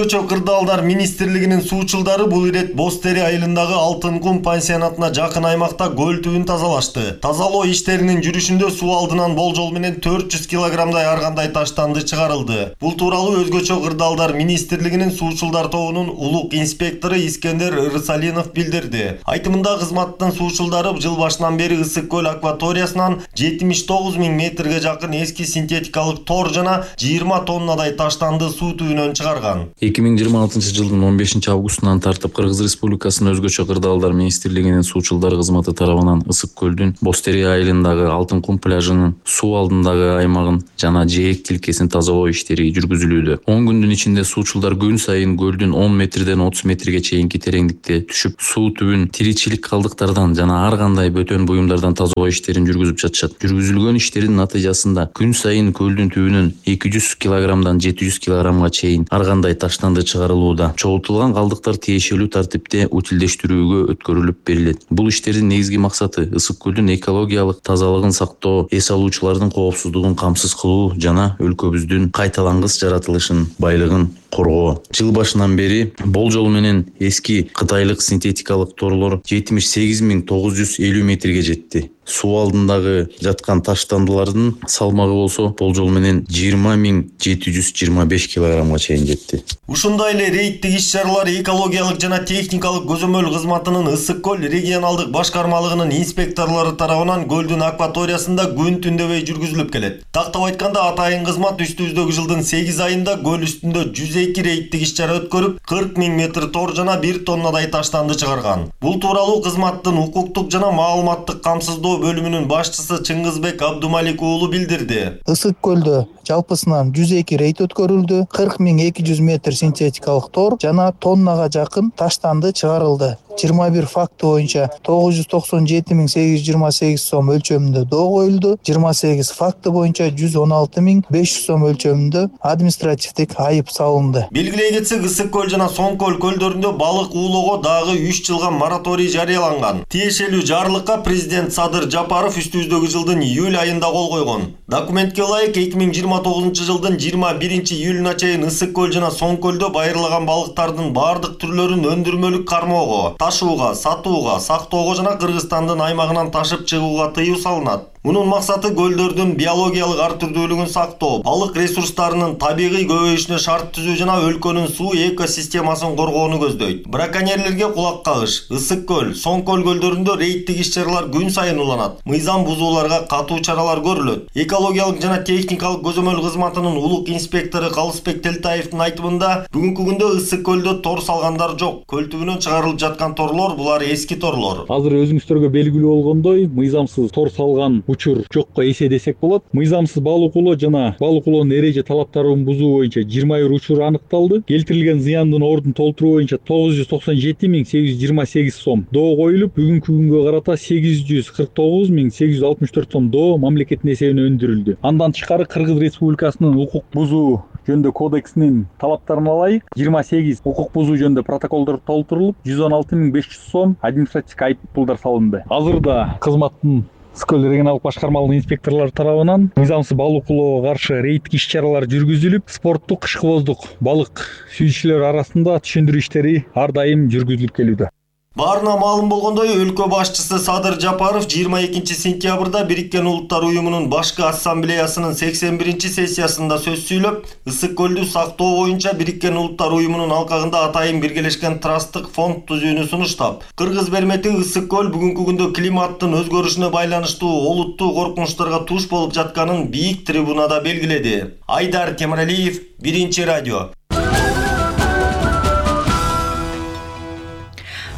өзгөчө кырдаалдар министрлигинин суучулдары бул ирет Бостери айылындагы Алтын кум пансионатына жакын аймакта көл түбүн тазалашты. Тазалоо иштеринин жүрүшүндө суу алдынан болжол менен төрт жүз килограммдай ар кандай таштанды чыгарылды. Бул тууралуу өзгөчө кырдаалдар министрлигинин суучулдар тобунун улук инспектору Искендер Ырсалинов билдирди. Айтымында кызматтын суучулдары жыл башынан бери Ысык көл акваториясынан жетимиш тогуз миң метрге жакын эски синтетикалык тор жана жыйырма тоннадай таштанды суу түбүнөн чыгарган. эки миң жыйырма алтынчы жылдын он бешинчи августунан тартып Кыргыз Республикасынын өзгөчө кырдаалдар министрлигинин суучулдар кызматы тарабынан Ысык көлдүн Бостери айылындагы Алтын кум пляжынын суу алдындагы аймагын жана жээк тилкесин тазалоо иштери жүргүзүлүүдө. он күндүн ичинде суучулдар күн сайын көлдүн он метрден отуз метрге чейинки тереңдикте түшүп, суу түбүн тиричилик калдыктардан жана ар кандай бөтөн буюмдардан тазалоо иштерин жүргүзүп жатышат. Жүргүзүлгөн иштердин натыйжасында күн сайын көлдүн түбүнөн эки жүз килограммдан жети жүз килограммга чейин ар кандай таштанды чыгарылууда. Чогултулган калдыктар тиешелүү тартипте утилдештирүүгө өткөрүлүп берилет. Бул иштердин негизги максаты Ысык көлдүн экологиялык тазалыгын сактоо, эс алуучулардын коопсуздугун камсыз кылуу жана өлкөбүздүн кайталангыс жаратылышын, байлыгын коргоо. Жыл башынан бери болжол менен эски кытайлык синтетикалык торлор жетимиш сегиз миң тогуз жүз элүү метрге жетти. Суу алдындагы жаткан таштандылардын салмагы болсо болжол менен жыйырма миң жети жүз жыйырма беш килограммга чейин жетти. Ушундай эле рейдтик иш-чаралар экологиялык жана техникалык көзөмөл кызматынын Ысык көл регионалдык башкармалыгынын инспекторлору тарабынан көлдүн акваториясында күн түндөбөй жүргүзүлүп келет. Тактап айтканда атайын кызмат үстүбүздөгү жылдын сегиз айында көл үстүндө жүз эки рейдтик иш-чара өткөрүп, кырк миң метр тор жана бир тоннадай таштанды чыгарган. Бул тууралуу кызматтын укуктук жана маалыматтык камсыздоо бөлүмүнүн башчысы Чыңгызбек Абдумалик уулу билдирди. Ысык көлдө жалпысынан жүз эки рейд өткөрүлдү. кырк миң эки жүз метр синтетикалык тор жана тоннага жакын таштанды чыгарылды. жыйырма бир факты боюнча тогуз жүз токсон жети миң сегиз жүз жыйырма сегиз сом өлчөмүндө доо коюлду. жыйырма сегиз факты боюнча жүз он алты миң беш жүз сом өлчөмүндө административдик айып салынды. Белгилей кетсек, Ысык көл жана Соң көл көлдөрүндө балык уулоого дагы үч жылга мораторий жарыяланган. Тиешелүү жарлыкка президент Садыр Жапаров үстүбүздөгү жылдын июль айында кол койгон. Документке ылайык эки миң жыйырма тогузунчу жылдын жыйырма биринчи июлуна чейин Ысык көл жана Соң көлдө байырлаган балыктардын бардык түрлөрүн өндүрмөлүк кармоого, ташууга, сатууга, сактоого жана Кыргызстандын аймагынан ташып чыгууга тыюу салынат. Мунун максаты көлдөрдүн биологиялык ар түрдүүлүгүн сактоо, балык ресурстарынын табигый көбөйүшүнө шарт түзүү жана өлкөнүн суу экосистемасын коргоону көздөйт. Браконьерлерге кулак кагыш. Ысык көл, Соң көл көлдөрүндө рейдтик иш-чаралар күн сайын уланат. Мыйзам бузууларга катуу чаралар көрүлөт. Экологиялык жана техникалык көзөмөл кызматынын улук инспектору Калысбек Телтаевдин айтымында, бүгүнкү күндө Ысык көлдө тор салгандар жок. Көл түбүнөн чыгарылып жаткан торлор булар эски торлор. Азыр өзүңүздөргө белгилүү болгондой, мыйзамсыз тор салган учур жокко эседесек болот. Мыйзамсыз балык улоо жана балык улоонун эреже талаптарын бузуу боюнча жыйырма бир учур аныкталды. Келтирилген зыяндын ордун толтуруу боюнча тогуз жүз токсон жети миң сегиз жүз жыйырма сегиз сом доо коюлуп, бүгүнкү күнгө карата сегиз жүз кырк тогуз миң сегиз жүз алтымыш төрт сом доо мамлекеттин эсебине өндүрүлдү. Андан тышкары Кыргыз Республикасынын укук бузуу жөнүндө кодексинин талаптарына ылайык жыйырма сегиз укук бузуу жөнүндө протоколдор толтурулуп, жүз он алты миң беш жүз сом административдик айып пулдар салынды. Азырда кызматтын Ысык көл регионалдык башкармалыгынын инспекторлору тарабынан мыйзамсыз балык улоого каршы рейдтик иш-чаралар жүргүзүлүп, спорттук кышкыбоздук балык сүйүүчүлөр арасында түшүндүрүү иштери ар дайым жүргүзүлүп келүүдө. Баарына маалым болгондой, өлкө башчысы Садыр Жапаров жыйырма экинчи сентябрда Бириккен Улуттар уюмунун башкы ассамблеясынын сексен биринчи сессиясында сөз сүйлөп, Ысык көлдү сактоо боюнча Бириккен Улуттар уюмунун алкагында атайын биргелешкен трасттык фонд түзүүнү сунуштап, Кыргыз бермети Ысык көл бүгүнкү күндө климаттын өзгөрүшүнө байланыштуу олуттуу коркунучтарга туш болуп жатканын бийик трибунада белгиледи. Айдар Темиралиев, Биринчи радио.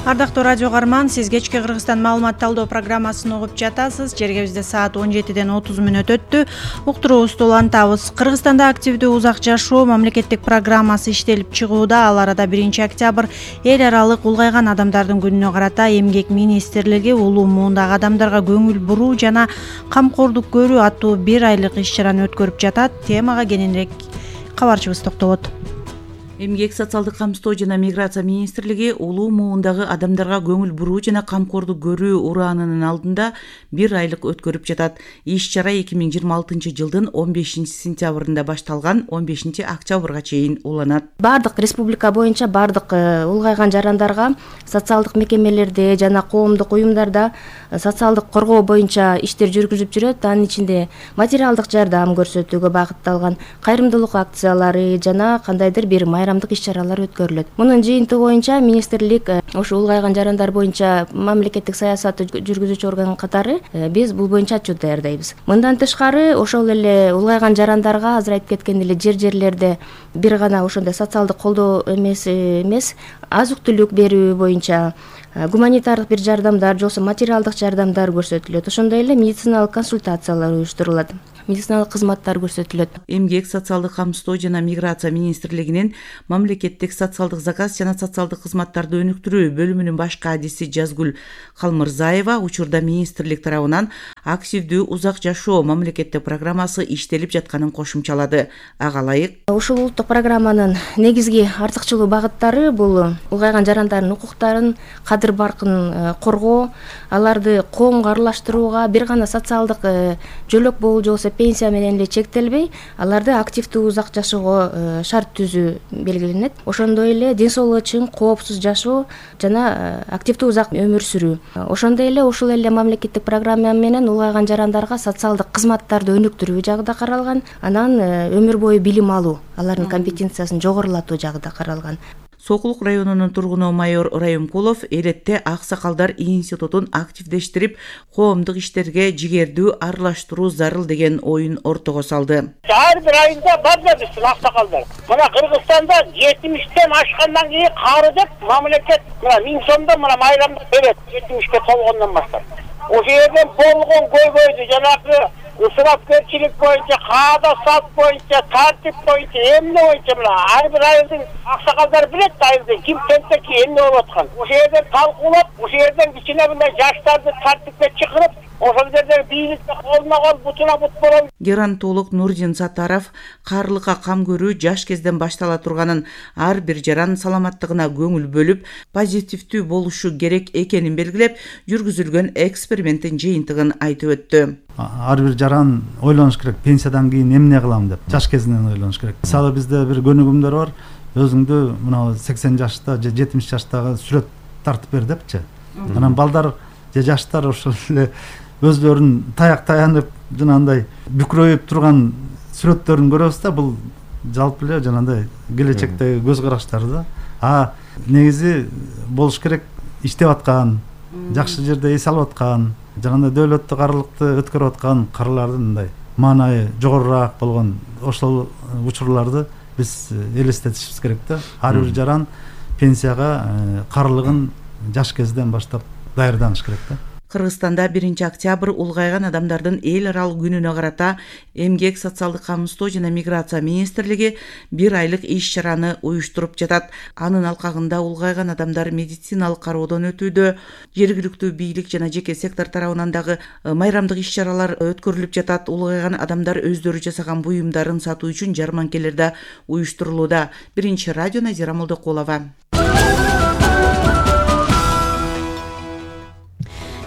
Ардактуу радио каарман, сиз кечки Кыргызстан маалымат талдоо программасын угуп жатасыз. Жергебизде саат он жетиден отуз мүнөт өттү. Уктуруубузду улантабыз. Кыргызстанда активдүү узак жашоо мамлекеттик программасы иштелип чыгууда. Ал арада биринчи октябрь эл аралык улгайган адамдардын күнүнө карата эмгек министрлиги улуу муундагы адамдарга көңүл буруу жана камкордук көрүү аттуу бир айлык иш-чараны өткөрүп жатат. Темага кененирээк кабарчыбыз токтолот. Эмгек социалдык камсыздоо жана миграция министрлиги улуу муундагы адамдарга көңүл буруу жана камкордук көрүү ураанынын алдында бир айлык өткөрүп жатат. Иш чара эки миң жыйырма алтынчы жылдын он бешинчи сентябрында башталган, он бешинчи октябрга чейин уланат. Бардык республика боюнча бардык улгайган жарандарга социалдык мекемелерде жана коомдук уюмдарда социалдык коргоо боюнча иштер жүргүзүп жүрөт. Анын ичинде материалдык жардам көрсөтүүгө багытталган кайрымдуулук акциялары жана кандайдыр бир майрамдык иш-чаралар өткөрүлөт. Мунун жыйынтыгы боюнча министрлик ошо улгайган жарандар боюнча мамлекеттик саясатты жүргүзүүчү орган катары биз бул боюнча отчет даярдайбыз. Мындан тышкары ошол эле улгайган жарандарга азыр айтып кеткен эле жер-жерлерде бир гана ошондой социалдык колдоо эмес эмес азык-түлүк берүү боюнча гуманитардык бир жардамдар, жолсо материалдык жардамдар көрсөтүлөт. Ошондой эле медициналык консультациялар уюштурулат. Медициналык кызматтар көрсөтүлөт. Эмгек социалдык камсыздоо жана миграция министрлигинин мамлекеттик социалдык заказ жана социалдык кызматтарды өнүктүрүү бөлүмүнүн баш кадиси Жазгүл Калмырзаева учурда министрлик тарабынан активдүү узак жашоо мамлекеттик программасы иштелип жатканын кошумчалады. Ага ылайык ушул улуттук программанын негизги артыкчылуу багыттары бул улгайган жарандардын укуктарын, кадыр баркын коргоо, аларды коомго аралаштырууга, бир гана социалдык жөлөк болуу жолсо пенсия менен эле чектелбей, аларды активдүү узак жашоого шарт түзүү белгиленет. Ошондой эле ден соолугу чың, коопсуз жашоо жана активдүү узак өмүр сүрүү. Ошондой эле ушул эле мамлекеттик программа менен улгайган жарандарга социалдык кызматтарды өнүктүрүү жагы да каралган, анан өмүр бою билим алуу, алардын компетенциясын жогорулатуу жагы да каралган. Сокулук районунун тургуну майор Райымкулов элетте аксакалдар институтун активдештирип, коомдук иштерге жигердүү аралаштыруу зарыл деген оюн ортого салды. Ар бир айында бар да биздин аксакалдар. Мына Кыргызстанда жетимиштен ашкандан кийин кары деп мамлекет мына миң сомдон мына майрамда берет, жетимишке толгондон баштап. Ошол жерден болгон көйгөйдү жанагы ысырапкерчилик боюнча, каада сат боюнча, тартип боюнча, эмне боюнча мына ар бир айылдын аксакалдары билет да айылда ким тентекти эмне болуп аткан. Ошол жерден талкуулап, ошол жерден кичине мындай жаштарды тартипке чакырып, ошол жерде бийликте колуна кол, бутуна бут болот. Геронтолог Нурдин Сатаров карлыкка кам көрүү жаш кезден баштала турганын, ар бир жаран саламаттыгына көңүл бөлүп, позитивдүү болушу керек экенин белгилеп, жүргүзүлгөн эксперименттин жыйынтыгын айтып өттү. Ар бир жаран ойлонуш керек, пенсиядан кийин эмне кылам деп, жаш кезинен ойлонуш керек. Мисалы бизде бир көнүгүмдөр бар, өзүңдү мына сексен жашта же жетимиш жаштагы сүрөт тартып бер депчи. Анан балдар же жаштар ошол эле өзлөрүн таяк таянып, жанагындай бүкрөйүп турган сүрөттөрүн көрөбүз да, бул жалпы эле жанагындай келечектеги көз караштары да. А негизи болуш керек иштеп аткан, жакшы жерде эс алып аткан, жанагындай дөөлөттүк аралыкты өткөрүп аткан карлардын мындай маанайы жогорураак болгон ошол учурларды биз элестетишибиз керек да. Ар бир жаран пенсияга карлыгын жаш кезден баштап даярданыш керек да. Кыргызстанда биринчи октябрь улгайган адамдардын эл аралык күнүнө карата Эмгек социалдык камсыздоо жана миграция министрлиги бир айлык иш-чараны уюштуруп жатат. Анын алкагында улгайган адамдар медициналык кароодон өтүүдө, жергиликтүү бийлик жана жеке сектор тарабынан дагы майрамдык иш-чаралар өткөрүлүп жатат. Улгайган адамдар өздөрү жасаган буюмдарын сатуу үчүн жарманкелер да уюштурулууда. Биринчи радио Назира Молдокулова.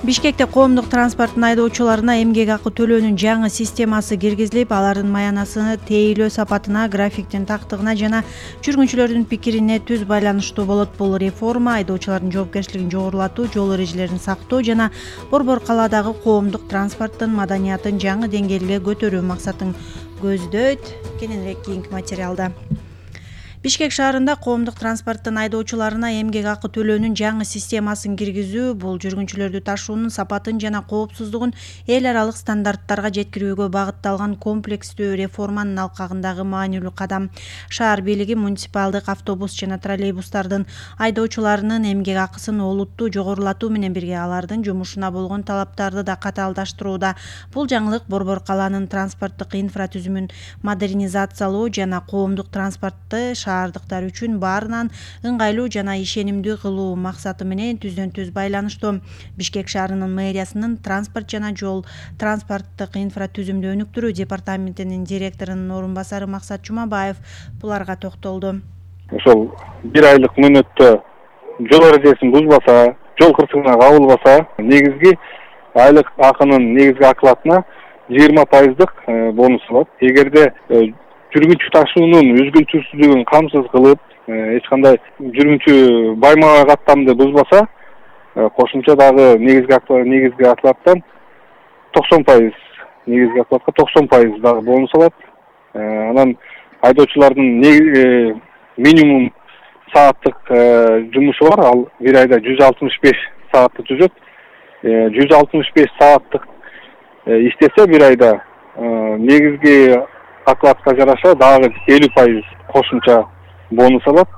Бишкекте коомдук транспорттун айдоочуларына эмгек акы төлөөнүн жаңы системасы киргизилип, алардын маянасыны тейлөө сапатына, графиктин тактыгына жана жүргүнчүлөрдүн пикирине түз байланыштуу болот. Бул реформа айдоочулардын жоопкерчилигин жогорулатуу, жол эрежелерин сактоо жана Борбор калаадагы коомдук транспорттун маданиятын жаңы деңгээлге көтөрүү максатын көздөйт. Кененирээк кийинки материалда. Бишкек шаарында коомдук транспорттун айдоочуларына эмгек акы төлөөнүн жаңы системасын киргизүү бул жүргүнчүлөрдү ташуунун сапатын жана коопсуздугун эл аралык стандарттарга жеткирүүгө багытталган комплекстүү реформанын алкагындагы маанилүү кадам. Шаар бийлиги муниципалдык автобус жана троллейбустардын айдоочуларынын эмгек акысын олуттуу жогорулатуу менен бирге алардын жумушуна болгон талаптарды да катаалдаштырууда. Бул жаңылык Борбор калаанын транспорттук инфратүзүмүн модернизациялоо жана коомдук транспортты шаардыктар үчүн баарынан ыңгайлуу жана ишенимдүү кылуу максаты менен түздөн түз байланыштуу. Бишкек шаарынын мэриясынын транспорт жана жол транспорттук инфратүзүмдү өнүктүрүү департаментинин директорунун орун басары Максат Жумабаев буларга токтолду. ошол бир айлык мөөнөттө жол эрежесин бузбаса, жол кырсыгына кабылбаса, негизги айлык акынын негизги оклатына жыйырма пайыздык бонус алат. Эгерде жүргүнчү ташуунун үзгүлтүрсүздүгүн камсыз кылып, эч кандай жүргүнчү байма каттамды бузбаса, кошумча дагы негизги негизги оклаттан токсон пайыз, негизги оклатка токсон пайыз дагы бонус алат. Анан айдоочулардын минимум сааттык жумушу бар, ал бир айда жүз алтымыш беш саатты түзөт. жүз алтымыш беш сааттык иштесе бир айда негизги оклатка жараша дагы элүү пайыз кошумча бонус алат.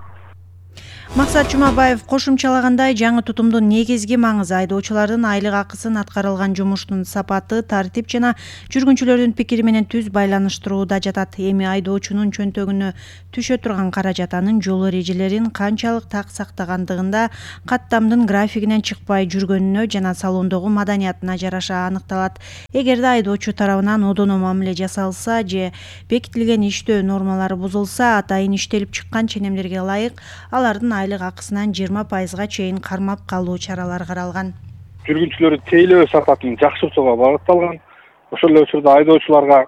Максат Жумабаев кошумчалагандай, жаңы тутумдун негизги маңызы айдоочулардын айлык акысын аткарылган жумуштун сапаты, тартип жана жүргүнчүлөрдүн пикири менен түз байланыштырууда жатат. Эми айдоочунун чөнтөгүнө түшө турган каражат анын жол эрежелерин канчалык так сактагандыгында, каттамдын графигинен чыкпай жүргөнүнө жана салондогу маданиятына жараша аныкталат. Эгерде айдоочу тарабынан одоно мамиле жасалса же бекитилген иштөө нормалары бузулса, атайын иштелип чыккан ченемдерге ылайык алардын айлык акысынан жыйырма пайызга чейин кармап калуу чаралары каралган. Жүргүнчүлөрдү тейлөө сапатын жакшыртууга багытталган. Ошол эле учурда айдоочуларга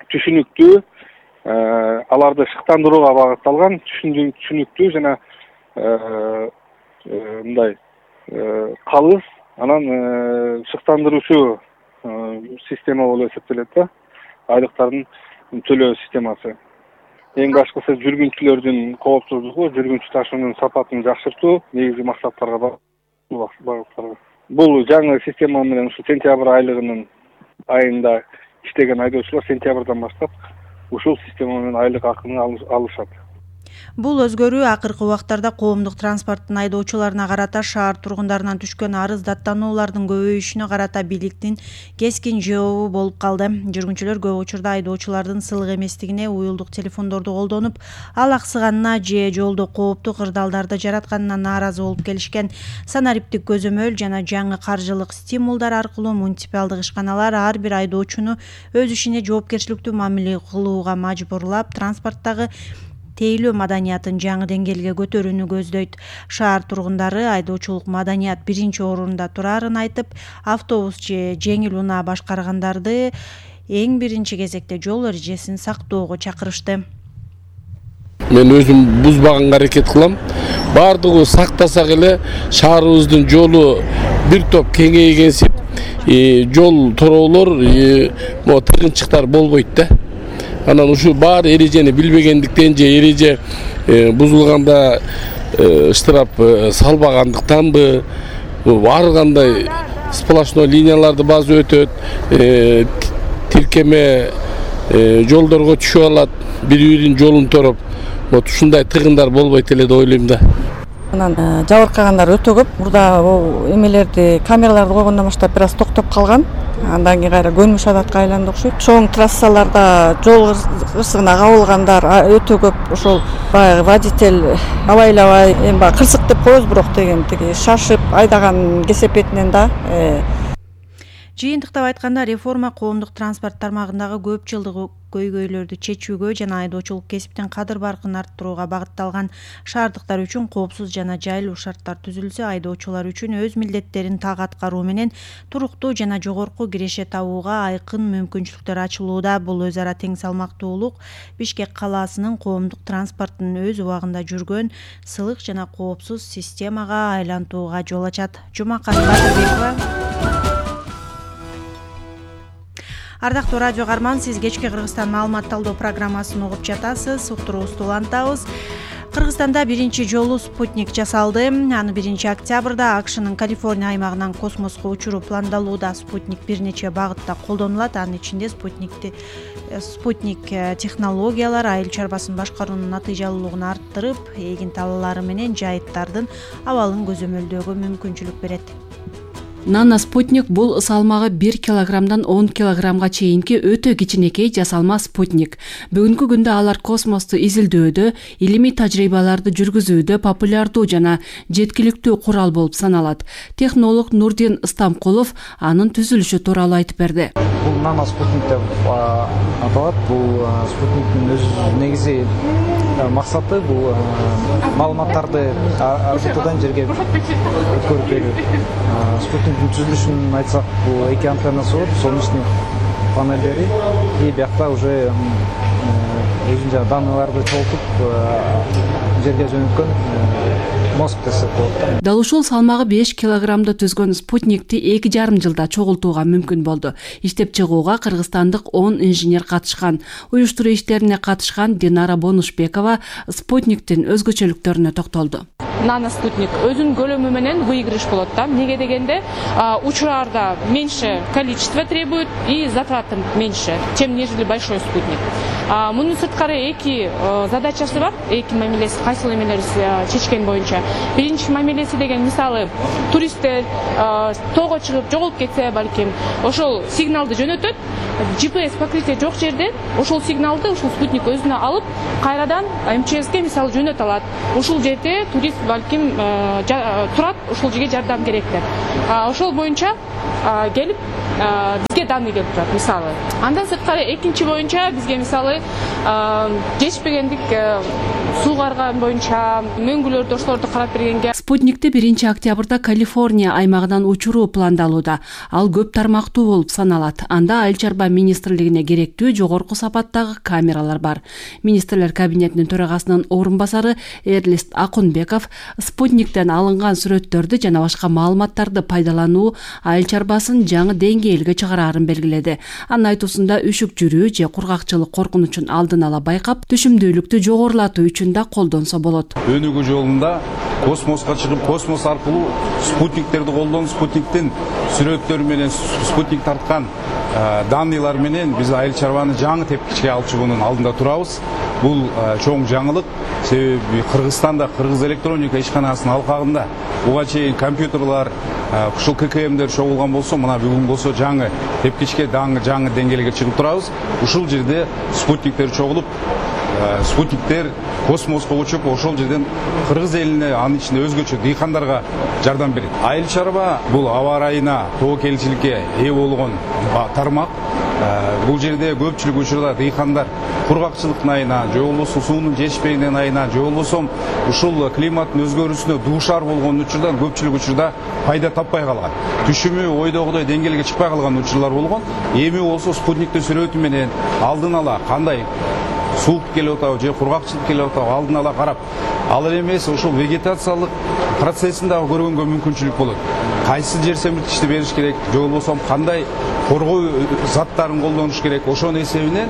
түшүнүктүү, аларды шыктандырууга багытталган, түшүнүктүү жана мындай калыс, анан шыктандыруучу система болуп эсептелет да, айлыктардын төлөө системасы. Эң башкысы жүргүнчүлөрдүн коопсуздугу, жүргүнчү ташуунун сапатын жакшыртуу негизги максаттарга багытталган. Бул жаңы система менен ушу сентябрь айлыгынын айында иштеген айдоочулар сентябрдан баштап ушул система менен айлык акыны алышат. Бул өзгөрүү акыркы убактарда коомдук транспорттун айдоочуларына карата шаар тургундарынан түшкөн арыз даттануулардын көбөйүшүнө карата бийликтин кескин жообу болуп калды. Жүргүнчүлөр көп учурда айдоочулардын сылык эместигине, уюлдук телефондорду колдонуп, ал аксыганына же жолдо кооптуу кырдаалдарды жаратканына нааразы болуп келишкен. Санариптик көзөмөл жана жаңы каржылык стимулдар аркылуу муниципалдык ишканалар ар бир айдоочуну өз ишине жоопкерчиликтүү мамиле кылууга мажбурлап, транспорттогу тейлөө маданиятын жаңы деңгээлге көтөрүүнү көздөйт. Шаар тургундары айдоочулук маданият биринчи орунда турарын айтып, автобус же жеңил унаа башкаргандарды эң биринчи кезекте жол эрежесин сактоого чакырышты. Мен өзүм бузбаганга аракет кылам. Бардыгы сактасак эле шаарыбыздын жолу бир топ кеңейгенсип, жол тороолор, могу тыгынчыктар болбойт да. Анан ушу бар эрежени билбегендиктен же эреже бузулганда штраф салбагандыктанбы, ар кандай сплошной линияларды базы өтөт, тиркеме жолдорго түшүп алат, бири-биринин жолун тороп, вот ушундай тыгындар болбойт эле деп ойлойм да. Анан жабыркагандар өтө көп. Мурда эмелерди, камераларды койгондон баштап бир аз токтоп калган. Андан кийин кайра көнүмүш адатка айланды окшойт. Чоң трассаларда жол кырсыгына кабылгандар өтө көп. Ошол баягы водитель абайлабай, эми баягы кырсык деп коебуз, бирок деген тиги шашып айдаган кесепетинен да. Жыйынтыктап айтканда, реформа коомдук транспорт тармагындагы көп жылдык көйгөйлөрдү чечүүгө жана айдоочулук кесиптин кадыр баркын арттырууга багытталган. Шаардыктар үчүн коопсуз жана жайлуу шарттар түзүлсө, айдоочулар үчүн өз милдеттерин так аткаруу менен туруктуу жана жогорку киреше табууга айкын мүмкүнчүлүктөр ачылууда. Бул өз ара тең салмактуулук Бишкек калаасынын коомдук транспорттун өз убагында жүргөн сылык жана коопсуз системага айлантууга жол ачат. Жумакан Батырбекова. Ардактуу радио каарман, сиз кечки Кыргызстан маалымат талдоо программасын угуп жатасыз. Уктуруубузду улантабыз. Кыргызстанда биринчи жолу спутник жасалды. Аны биринчи октябрда АКШнын Калифорния аймагынан космоско учуруу пландалууда. Спутник бир нече багытта колдонулат. Анын ичинде спутникти спутник технологиялар айыл чарбасын башкаруунун натыйжалуулугун арттырып, эгин талаалары менен жайыттардын абалын көзөмөлдөөгө мүмкүнчүлүк берет. Нано спутник бул салмагы бир килограммдан он килограммга чейинки өтө кичинекей жасалма спутник. Бүгүнкү күндө алар космосту изилдөөдө, илимий тажрыйбаларды жүргүзүүдө популярдуу жана жеткиликтүү курал болуп саналат. Технолог Нурдин Ыстамкулов анын түзүлүшү тууралуу айтып берди. бул нано спутник деп аталат. Бул спутниктин өз негизи максаты бул маалыматтарды орбитадан жерге өткөрүп берүү. Спутниктин түзүлүшүн айтсак, бул эки антеннасы бар, солнечный панелдери, и биякта уже өзүнчө данныйларды чогултуп жерге жөнөткөн мозг десек болот. Дал ушул салмагы беш килограммды түзгөн спутникти эки жарым жылда чогултууга мүмкүн болду. Иштеп чыгууга кыргызстандык он инженер катышкан. Уюштуруу иштерине катышкан Динара Бонушбекова спутниктин өзгөчөлүктөрүнө токтолду. Нано спутник өзүнүн көлөмү менен выигрыш болот да. Эмнеге дегенде учурарда меньше количество требует и затраты меньше, чем нежели большой спутник. Мунун сырткары эки задачасы бар, эки мамилеси, кайсыл эмелерди чечкен боюнча. Биринчи мамилеси деген мисалы туристтер тоого чыгып жоголуп кетсе, балким ошол сигналды жөнөтөт. джи пи эс покрытие жок жерде ошол сигналды ушул спутник өзүнө алып, кайрадан эм че эске мисалы жөнөтө алат. Ушул жерде турист балким турат, ушул жерге жардам керек деп. Ошол боюнча келип бизге данный келип турат мисалы. Андан сырткары экинчи боюнча бизге мисалы жетишпегендик суу карган боюнча мөңгүлөрдү ошолорду карап бергенге. Спутникти биринчи октябрда Калифорния аймагынан учуруу пландалууда. Ал көп тармактуу болуп саналат. Анда Айыл чарба министрлигине керектүү жогорку сапаттагы камералар бар. Министрлер кабинетинин төрагасынын орун басары Эрлист Акунбеков спутниктен алынган сүрөттөрдү жана башка маалыматтарды пайдалануу айыл чарбасын жаңы деңгээлге чыгарарын белгиледи. Анын айтуусунда үшүк жүрүү же кургакчылык коркунучун алдын ала байкап, түшүмдүүлүктү жогорулатуу үчүн да колдонсо болот. Өнүгүү жолунда космоско чыгып, космос аркылуу спутниктерди колдонуп, спутниктин сүрөттөрү менен спутник тарткан данныйлар менен биз айыл чарбаны жаңы тепкичке алып чыгуунун алдында турабыз. Бул чоң жаңылык, себеби Кыргызстанда Кыргыз электроника ишканасынын алкагында буга чейин компьютерлар, ушул ка ка эмдер чогулган болсо, мына бүгүн болсо жаңы тепкичке жаңы деңгээлге чыгып турабыз. Ушул жерде спутниктер чогулуп, спутниктер космоско учуп, ошол жерден Кыргыз элине, анын ичинде өзгөчө дыйкандарга жардам берет. Айыл чарба бул аба ырайына, тобокелчиликке ээ болгон тармак. Бул жерде көпчүлүк учурда дыйкандар кургакчылыктын айынан, же болбосо суунун жетишпегендигинин айынан, же болбосо ушул климаттын өзгөрүүсүнө дуушар болгон учурдан көпчүлүк учурда пайда таппай калган. Түшүмү ойдогудой деңгээлге чыкпай калган учурлар болгон. Эми болсо спутниктин сүрөтү менен алдын ала кандай суук келип атабы же кургакчылык келип атабы алдын ала карап, ал эмес ошол вегетациялык процессин дагы көргөнгө мүмкүнчүлүк болот. Кайсы жер семирткичти бериш керек, же болбосо кандай коргоо заттарын колдонуш керек, ошонун эсебинен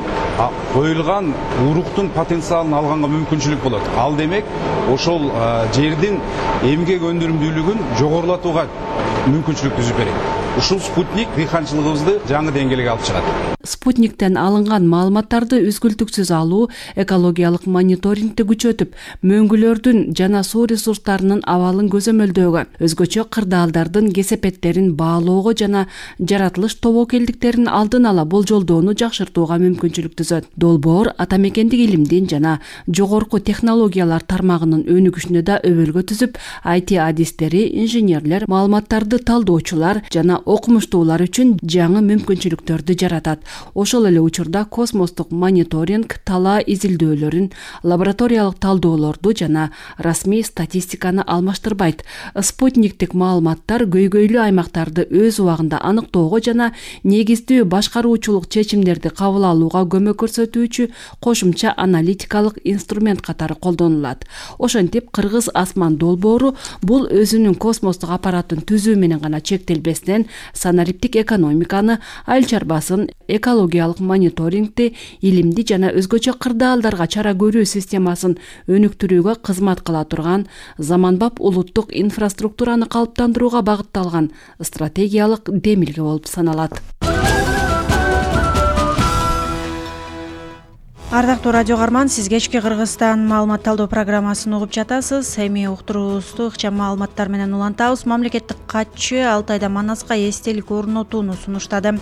коюлган уруктун потенциалын алганга мүмкүнчүлүк болот. Ал демек ошол жердин эмгек өндүрүмдүүлүгүн жогорулатууга мүмкүнчүлүк түзүп берет. Ушул спутник дыйканчылыгыбызды жаңы деңгээлге алып чыгат. Спутниктен алынган маалыматтарды үзгүлтүксүз алуу экологиялык мониторингди күчөтүп, мөңгүлөрдүн жана суу ресурстарынын абалын көзөмөлдөөгө, өзгөчө кырдаалдардын кесепеттерин баалоого жана жаратылыш тобокелдиктерин алдын ала болжолдоону жакшыртууга мүмкүнчүлүк түзөт. Долбоор ата мекендик илимдин жана жогорку технологиялар тармагынын өнүгүшүнө да өбөлгө түзүп, ай ти адистери, инженерлер, маалыматтарды талдоочулар жана окумуштуулар үчүн жаңы мүмкүнчүлүктөрдү жаратат. Ошол эле учурда космостук мониторинг талаа изилдөөлөрүн, лабораториялык талдоолорду жана расмий статистиканы алмаштырбайт. Спутниктик маалыматтар көйгөйлүү аймактарды өз убагында аныктоого жана негиздүү башкаруучулук чечимдерди кабыл алууга көмөк көрсөтүүчү кошумча аналитикалык инструмент катары колдонулат. Ошентип, Кыргыз асман долбоору бул өзүнүн космостук аппаратын түзүү менен гана чектелбестен, санариптик экономиканы, айыл чарбасын, экологиялык мониторингди, илимди жана өзгөчө кырдаалдарга чара көрүү системасын өнүктүрүүгө кызмат кыла турган заманбап улуттук инфраструктураны калыптандырууга багытталган стратегиялык демилге болуп саналат. Ардактуу радио каарман, сиз кечки Кыргызстан маалымат талдоо программасын угуп жатасыз. Эми уктуруубузду ыкчам маалыматтар менен улантабыз. Мамлекеттик катчы Алтайда Манаска эстелик орнотууну сунуштады.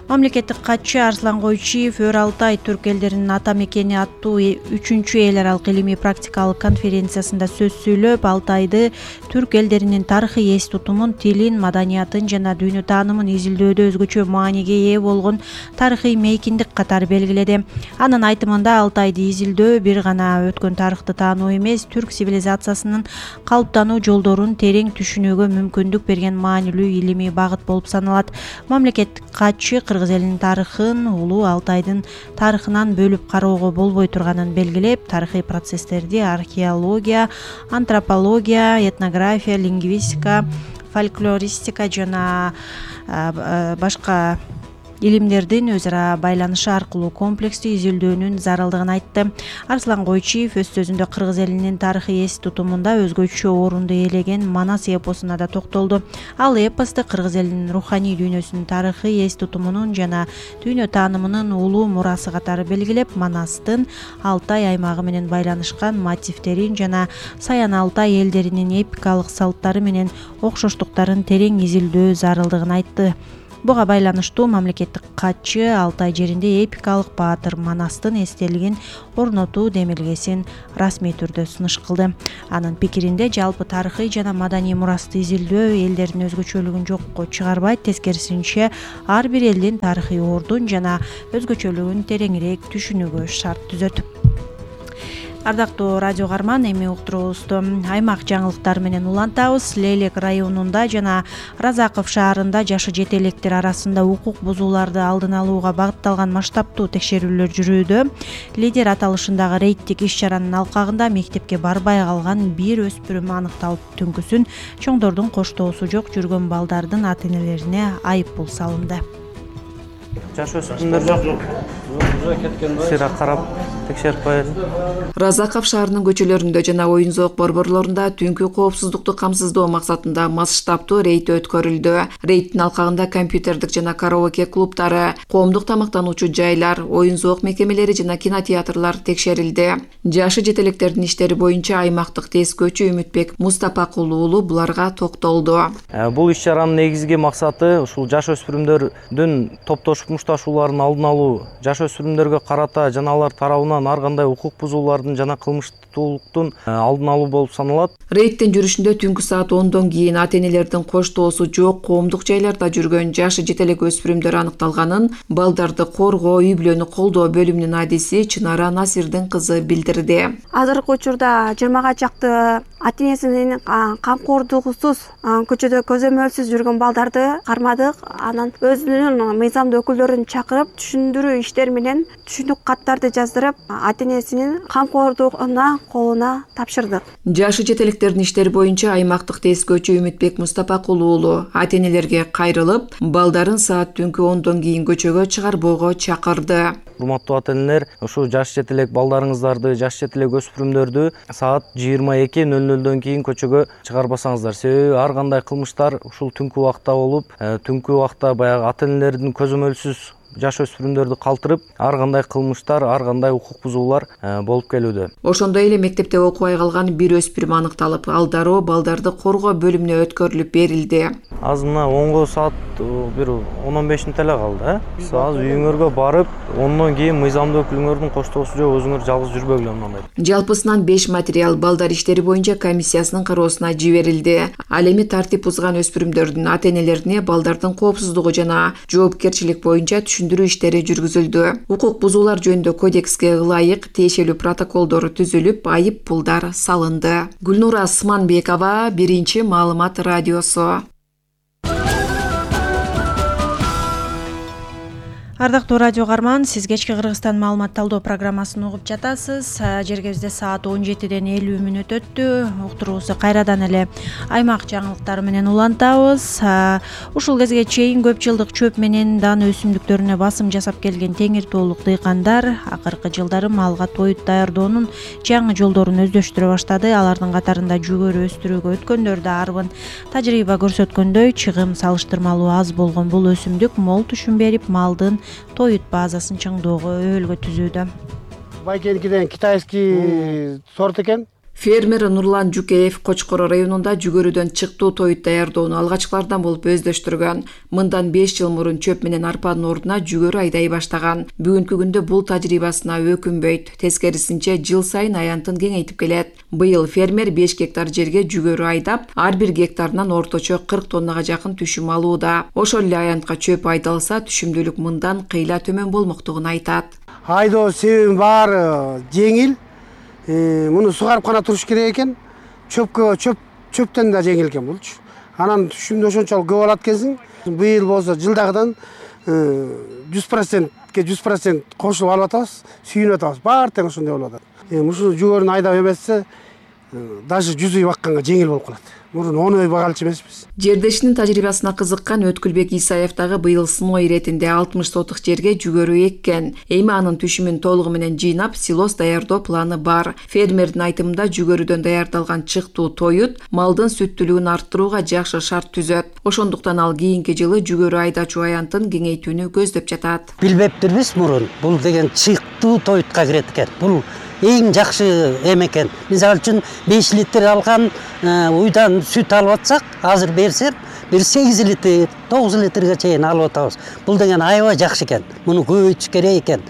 Мамлекеттик катчы Арслан Койчиев Өр Алтай түрк элдеринин ата мекени аттуу үчүнчү эл аралык илимий практикалык конференциясында сөз сүйлөп, Алтайды түрк элдеринин тарыхый эс тутумун, тилин, маданиятын жана дүйнө таанымын изилдөөдө өзгөчө мааниге ээ болгон тарыхый мейкиндик катары белгиледи. Анын айтымында Алтайды изилдөө бир гана өткөн тарыхты таануу эмес, түрк цивилизациясынын калыптануу жолдорун терең түшүнүүгө мүмкүндүк берген маанилүү илимий багыт болуп саналат. Мамлекеттик катчы кыргыз элинин тарыхын улуу Алтайдын тарыхынан бөлүп кароого болбой турганын белгилеп, тарыхый процесстерди археология, антропология, этнография, лингвистика, фольклористика жана башка илимдердин өз ара байланышы аркылуу комплекстүү изилдөөнүн зарылдыгын айтты. Арслан Койчиев өз сөзүндө кыргыз элинин тарыхый эс тутумунда өзгөчө орунду ээлеген Манас эпосуна да токтолду. Ал эпосты кыргыз элинин руханий дүйнөсүнүн тарыхый эс тутумунун жана дүйнө таанымынын улуу мурасы катары белгилеп, Манастын Алтай аймагы менен байланышкан мотивтерин жана Саян Алтай элдеринин эпикалык салттары менен окшоштуктарын терең изилдөө зарылдыгын айтты. Буга байланыштуу мамлекеттик катчы Алтай жеринде эпикалык баатыр Манастын эстелигин орнотуу демилгесин расмий түрдө сунуш кылды. Анын пикиринде жалпы тарыхый жана маданий мурасты изилдөө элдердин өзгөчөлүгүн жокко чыгарбайт, тескерисинче ар бир элдин тарыхый ордун жана өзгөчөлүгүн тереңирээк түшүнүүгө шарт түзөт. Ардактуу радио каарман, эми уктуруубузду аймак жаңылыктары менен улантабыз. Лейлек районунда жана Разаков шаарында жашы жете электер арасында укук бузууларды алдын алууга багытталган масштабтуу текшерүүлөр жүрүүдө. Лидер аталышындагы рейдтик иш-чаранын алкагында мектепке барбай калган бир өспүрүм аныкталып, түнкүсүн чоңдордун коштоосу жок жүргөн балдардын ата-энелерине айып пул салынды. Жаш өспүрүмдөр жок. Сыра карап текшерип коелу. Разаков шаарынын көчөлөрүндө жана оюн зоок борборлорунда түнкү коопсуздукту камсыздоо максатында масштабтуу рейд өткөрүлдү. Рейдтин алкагында компьютердик жана караоке клубтары, коомдук тамактануучу жайлар, оюн зоок мекемелери жана кинотеатрлар текшерилди. Жашы жетелектердин иштери боюнча аймактык тез көчү Үмүтбек Мустапакулу уулу буларга токтолду. Бул иш-чаранын негизги максаты ушул жаш өспүрүмдөрдүн топтошуп мушташууларын алдын алуу, жаш өспүрүмдөргө карата жана алар тарабынан ар кандай укук бузуулардын жана кылмыштуулуктун алдын алуу болуп саналат. Рейдтин жүрүшүндө түнкү саат ондон кийин ата-энелердин коштоосу жок коомдук жайларда жүргөн жашы жетелек өспүрүмдөр аныкталганын балдарды коргоо, үй бүлөнү колдоо бөлүмүнүн адиси Чынара Насирдин кызы билдирди. Азыркы учурда жыйырмага чакты ата-энесинин камкордугусуз көчөдө көзөмөлсүз жүргөн балдарды кармадык. Анан өзүнүн мыйзамдуу өкүлдөрүн чакырып түшүндүрүү иштери менен түшүнүк каттарды жаздырып, ата-энесинин камкордугуна колуна тапшырдык. Жашы жетелектердин иштери боюнча аймактык тез көчү Үмүтбек Мустапакулу уулу ата-энелерге кайрылып, балдарын саат түнкү ондон кийин көчөгө чыгарбоого чакырды. Урматтуу ата-энелер, ушу жаш жетелек балдарыңыздарды, жаш жетелек өспүрүмдөрдү саат жыйырма эки нөл нөлдөн кийин көчөгө чыгарбасаңыздар. Себеби ар кандай кылмыштар ушул түнкү убакта болуп, түнкү убакта баягы ата-энелердин көзөмөлсүз жаш өспүрүмдөрдү калтырып, ар кандай кылмыштар, ар кандай укук бузуулар болуп келүүдө. Ошондой эле мектепте окубай калган бир өспүрүм аныкталып, ал дароо балдарды коргоо бөлүмүнө өткөрүлүп берилди. Азына онго саат бир он он беш мүнөт эле калды. Сиз азыр үйүңөргө барып, ондон кийин мыйзамдуу өкүлүңөрдүн коштоосу жок, өзүңөр жалгыз жүрбөгүлө мындай. Жалпысынан беш материал балдар иштери боюнча комиссиясынын кароосуна жиберилди. Ал эми тартип бузган өспүрүмдөрдүн ата-энелерине балдардын коопсуздугу жана жоопкерчилик боюнча түшүндүрүү иштери жүргүзүлдү. Укук бузуулар жөнүндө кодекске ылайык тиешелүү протоколдор түзүлүп, айып пулдар салынды. Гүлнура Сманбекова, Биринчи маалымат радиосу. Ардактуу радио каарман, сиз кечки Кыргызстан маалымат талдоо программасын угуп жатасыз. Жергебизде саат он жетиден элүү мүнөт өттү. Уктуруубузду кайрадан эле аймак жаңылыктары менен улантабыз. Ушул кезге чейин көп жылдык чөп менен дан өсүмдүктөрүнө басым жасап келген Теңир тоолук дыйкандар акыркы жылдары малга тоют даярдоонун жаңы жолдорун өздөштүрө баштады. Алардын катарында жүгөрү өстүрүүгө өткөндөр да арбын. Тажрыйба көрсөткөндөй, чыгым салыштырмалуу аз болгон бул өсүмдүк мол түшүм берип, малдын тоют базасын чыңдоого өбөлгө түзүүдө. байкеникиден китайский сорт экен. Фермер Нурлан Жукеев Кочкор районунда жүгөрүдөн чыктуу тоют даярдоону алгачкылардан болуп өздөштүргөн. Мындан беш жыл мурун чөп менен арпанын ордуна жүгөрү айдай баштаган. Бүгүнкү күндө бул тажрыйбасына өкүнбөйт. Тескерисинче жыл сайын аянтын кеңейтип келет. Быйыл фермер беш гектар жерге жүгөрү айдап, ар бир гектарынан орточо кырк тоннага жакын түшүм алууда. Ошол эле аянтка чөп айдалса, түшүмдүүлүк мындан кыйла төмөн болмоктугун айтат. Айдоо себебин баары жеңил. Муну сугарып гана туруш керек экен. Чөпкө чөп чөптөн да жеңил экен булчу. Анан түшүмдө ошончолук көп алат экенсиң. Быйыл болсо жылдагыдан жүз процентке жүз процент кошулуп алып атабыз, сүйүнүп атабыз. Баары тең ошондой болуп атат. Ушул жүгөрүнү айдап эмесе, даже жүз үй бакканга жеңил болуп калат. Мурун он үй багалчы эмеспиз. Жердешинин тажрыйбасына кызыккан Өткүлбек Исаев дагы быйыл сыноо иретинде алтымыш сотук жерге жүгөрү эккен. Эми анын түшүмүн толугу менен жыйнап, силос даярдоо планы бар. Фермердин айтымында жүгөрүдөн даярдалган чыктуу тоют малдын сүттүүлүгүн арттырууга жакшы шарт түзөт. Ошондуктан ал кийинки жылы жүгөрү айдачу аянтын кеңейтүүнү көздөп жатат. Билбептирбиз мурун бул деген чыктуу тоютка кирет экен. Бул эң жакшы эме экен. Мисалы үчүн беш литр алган уйдан сүт алып атсак, азыр берсем, бир сегиз литр, тогуз литрге чейин алып атабыз. Бул деген аябай жакшы экен. Муну көбөйтүш керек экен.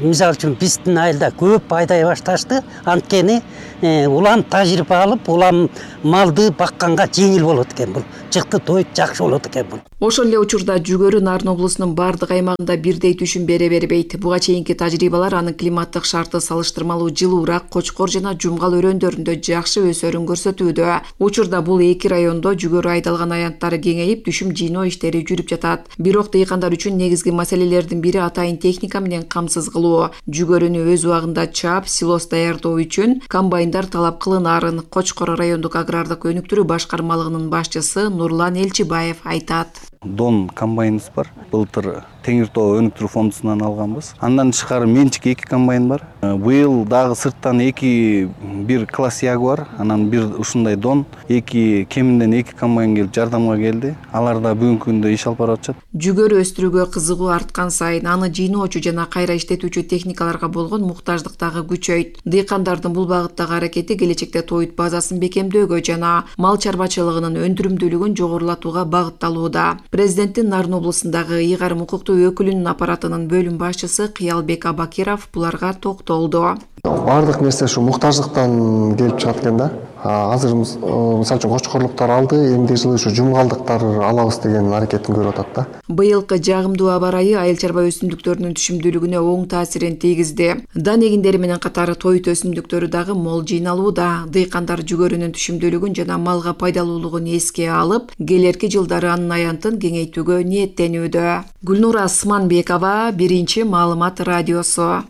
Мисалы үчүн биздин айылда көп айдай башташты. Анткени улам тажрыйба алып, улам малды бакканга жеңил болот экен бул. Чыкты тоют жакшы болот экен бул. Ошол эле учурда жүгөрү Нарын облусунун бардык аймагында бирдей түшүм бере бербейт. Буга чейинки тажрыйбалар анын климаттык шарты салыштырмалуу жылуураак Кочкор жана Жумгал өрөөндөрүндө жакшы өсөрүн көрсөтүүдө. Учурда бул эки райондо жүгөрү айдалган аянттары кеңейип, түшүм жыйноо иштери жүрүп жатат. Бирок дыйкандар үчүн негизги маселелердин бири атайын техника менен камсыз кылуу. Жүгөрүнү өз убагында чаап, силос даярдоо үчүн комбайндар талап кылынаарын Кочкор райондук агрардык өнүктүрүү башкармалыгынын башчысы Нурлан Элчибаев айтат. Дон комбайныбыз бар. Былтыр Теңир Тоо өнүктүрүү фондунан алганбыз. Андан тышкары менчик эки комбайн бар. Быйыл дагы сырттан эки бир класс Ягуар, анан бир ушундай Дон, эки кеминден эки комбайн келип жардамга келди. Алар да бүгүнкү күндө иш алып барып атышат. Жүгөрү өстүрүүгө кызыгуу арткан сайын аны жыйноочу жана кайра иштетүүчү техникаларга болгон муктаждык дагы күчөйт. Дыйкандардын бул багыттагы аракети келечекте тоют базасын бекемдөөгө жана мал чарбачылыгынын өндүрүмдүүлүгүн жогорулатууга багытталууда. Президенттин Нарын облусундагы ыйгарым укуктуу өкүлүнүн аппаратынын бөлүм башчысы Кыялбек Абакиров буларга токтолду. Бардык нерсе ушу муктаждыктан келип чыгат экен да. Азыр мисалы үчүн Кочкорлуктар алды, эмди жылы ушу Жумгалдыктар алабыз деген аракетин көрүп атат да. Быйылкы жагымдуу аба ырайы айыл чарба өсүмдүктөрүнүн түшүмдүүлүгүнө оң таасирин тийгизди. Дан эгиндери менен катары тоют өсүмдүктөрү дагы мол жыйналууда. Дыйкандар жүгөрүнүн түшүмдүүлүгүн жана малга пайдалуулугун эске алып, келерки жылдары анын аянтын кеңейтүүгө ниеттенүүдө. Гүлнура Сманбекова, Биринчи маалымат радиосу.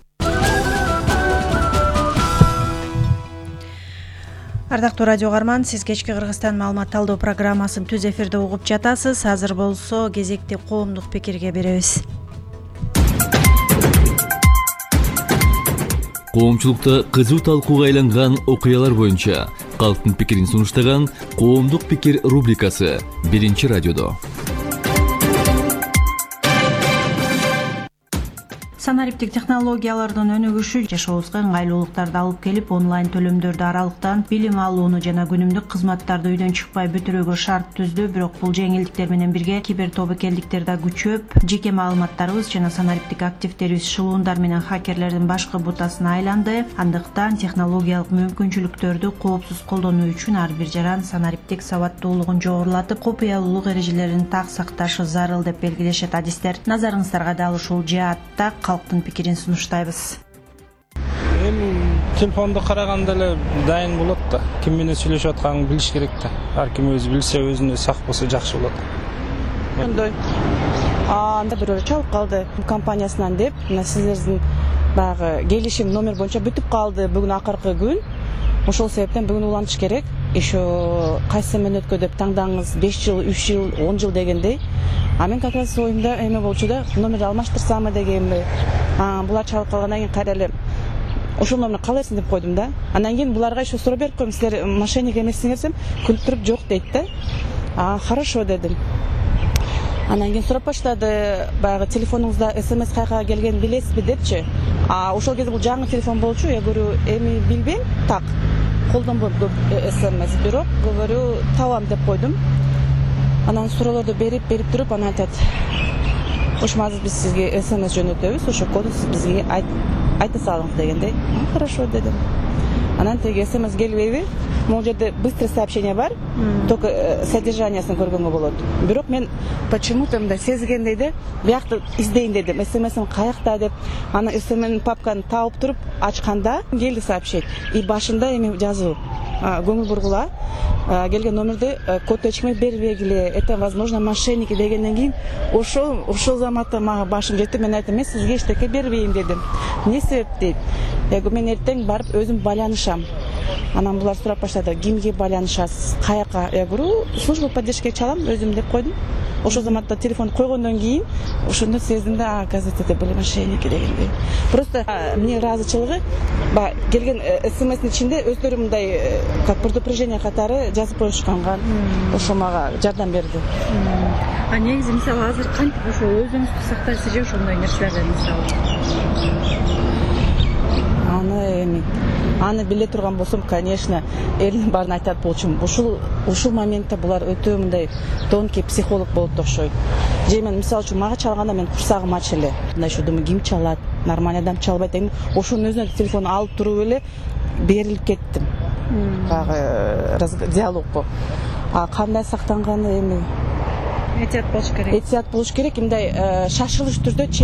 Ардактуу радио угарман, сиз кечки Кыргызстан маалымат талдоо программасын түз эфирде угуп жатасыз. Азыр болсо кезекти коомдук пикирге беребиз. Коомчулукта кызуу талкууга айланган окуялар боюнча калктын пикирин сунуштаган Коомдук пикир рубрикасы Биринчи радиодо. Санариптик технологиялардын өнүгүшү жашообузга ыңгайлуулуктарды алып келип, онлайн төлөмдөрдү аралыктан билим алууну жана күнүмдүк кызматтарды үйдөн чыкпай бүтүрүүгө шарт түздү. Бирок бул жеңилдиктер менен бирге кибер тобокелдиктер да күчөп, жеке маалыматтарыбыз жана санариптик активдерибиз шылуундар менен хакерлердин башкы бутасына айланды. Андыктан технологиялык мүмкүнчүлүктөрдү коопсуз колдонуу үчүн ар бир жаран санариптик сабаттуулугун жогорулатып, купуялуулук эрежелерин так сакташы зарыл деп белгилешет адистер. Назарыңыздарга дал ушул жаатта калктын пикирин сунуштайбыз. Эми телефонду караганда эле дайын болот да. Ким менен сүйлөшүп атканын билиш керек да. Ар ким өзү билсе, өзүнө сак болсо жакшы болот. Мындай анда бирөө чалып калды компаниясынан деп, мына сиздердин баягы келишим номер боюнча бүтүп калды бүгүн акыркы күн. Ошол себептен бүгүн улантыш керек. Еще кайсы мүнөткө деп таңдаңыз, беш жыл, үч жыл, он жыл дегендей. А мен как раз оюмда эме болчу да, номерди алмаштырсамбы дегенби. А булар чалып калгандан кийин кайра эле ошол номерди кала берсин деп койдум да. Андан кийин буларга еще суроо берип коем, силер мошенник эмессиңер десем, күлүп туруп жок дейт да. А хорошо дедим. Анан кийин сурап баштады, баягы телефонуңузда смс кайка келгенин билесизби депчи. А ошол кезде бул жаңы телефон болчу. Я говорю, эми билбейм, так. Колдонбойм көп смс, бирок говорю, табам деп койдум. Анан суроолорду берип, берип туруп, анан айтат, ошо азыр биз сизге смс жөнөтөбүз, ошо коду сиз бизге айта салыңыз дегендей. Хорошо дедим. Анан теги смс келбейби? Могул жерде быстрый сообщение бар, только содержаниясын көргөнгө болот. Бирок мен почему-то мындай сезгендей де, биякты издейин дедим. смс'ин каякта деп, аны смс папканы таап туруп ачканда келди сообщение. И башында эми жазуу. Көңүл бургула, келген номерди код ачкмай бербегиле, это возможно мошенники дегенден кийин ошол ошол заматта мага башым жетти. Мен айттым, мен сизге эчтеке бербейм дедим. Эмне себеп дейт? Я говорю, мен эртең барып өзүм байланышам. Анан булар сурап баштады, кимге байланышасыз, каяка? Я говорю, служба поддержки чалам өзүм деп койдум. Ошол заматта телефон койгондон кийин ошондо сездим да, оказывается, это были мошенники дегендей. Просто мне ыраазычылыгы, баягы келген смстин ичинде өздөрү мындай как предупреждение катары жазып коюшканган. Ошо мага жардам берди. А негизи мисалы азыр кантип ошо өзүңүздү сактайсыз же ошондой нерселерден мисалы? Аны эми аны биле турган болсом, конечно, элдин баарын айтат болчумун. Ушул ушул моментте булар өтө мындай тонкий психолог болот окшойт. Же мен мисалы үчүн мага чалганда мен курсагым ачы эле. Мындай шу думаю, ким чалат? Нормальный адам чалбайт эми. Ошонун өзүнө телефон алып туруп эле берилип кеттим. Баягы диалогго. А кандай сактанганы эми этият болуш керек. Этият болуш керек. Мындай шашылыш түрдө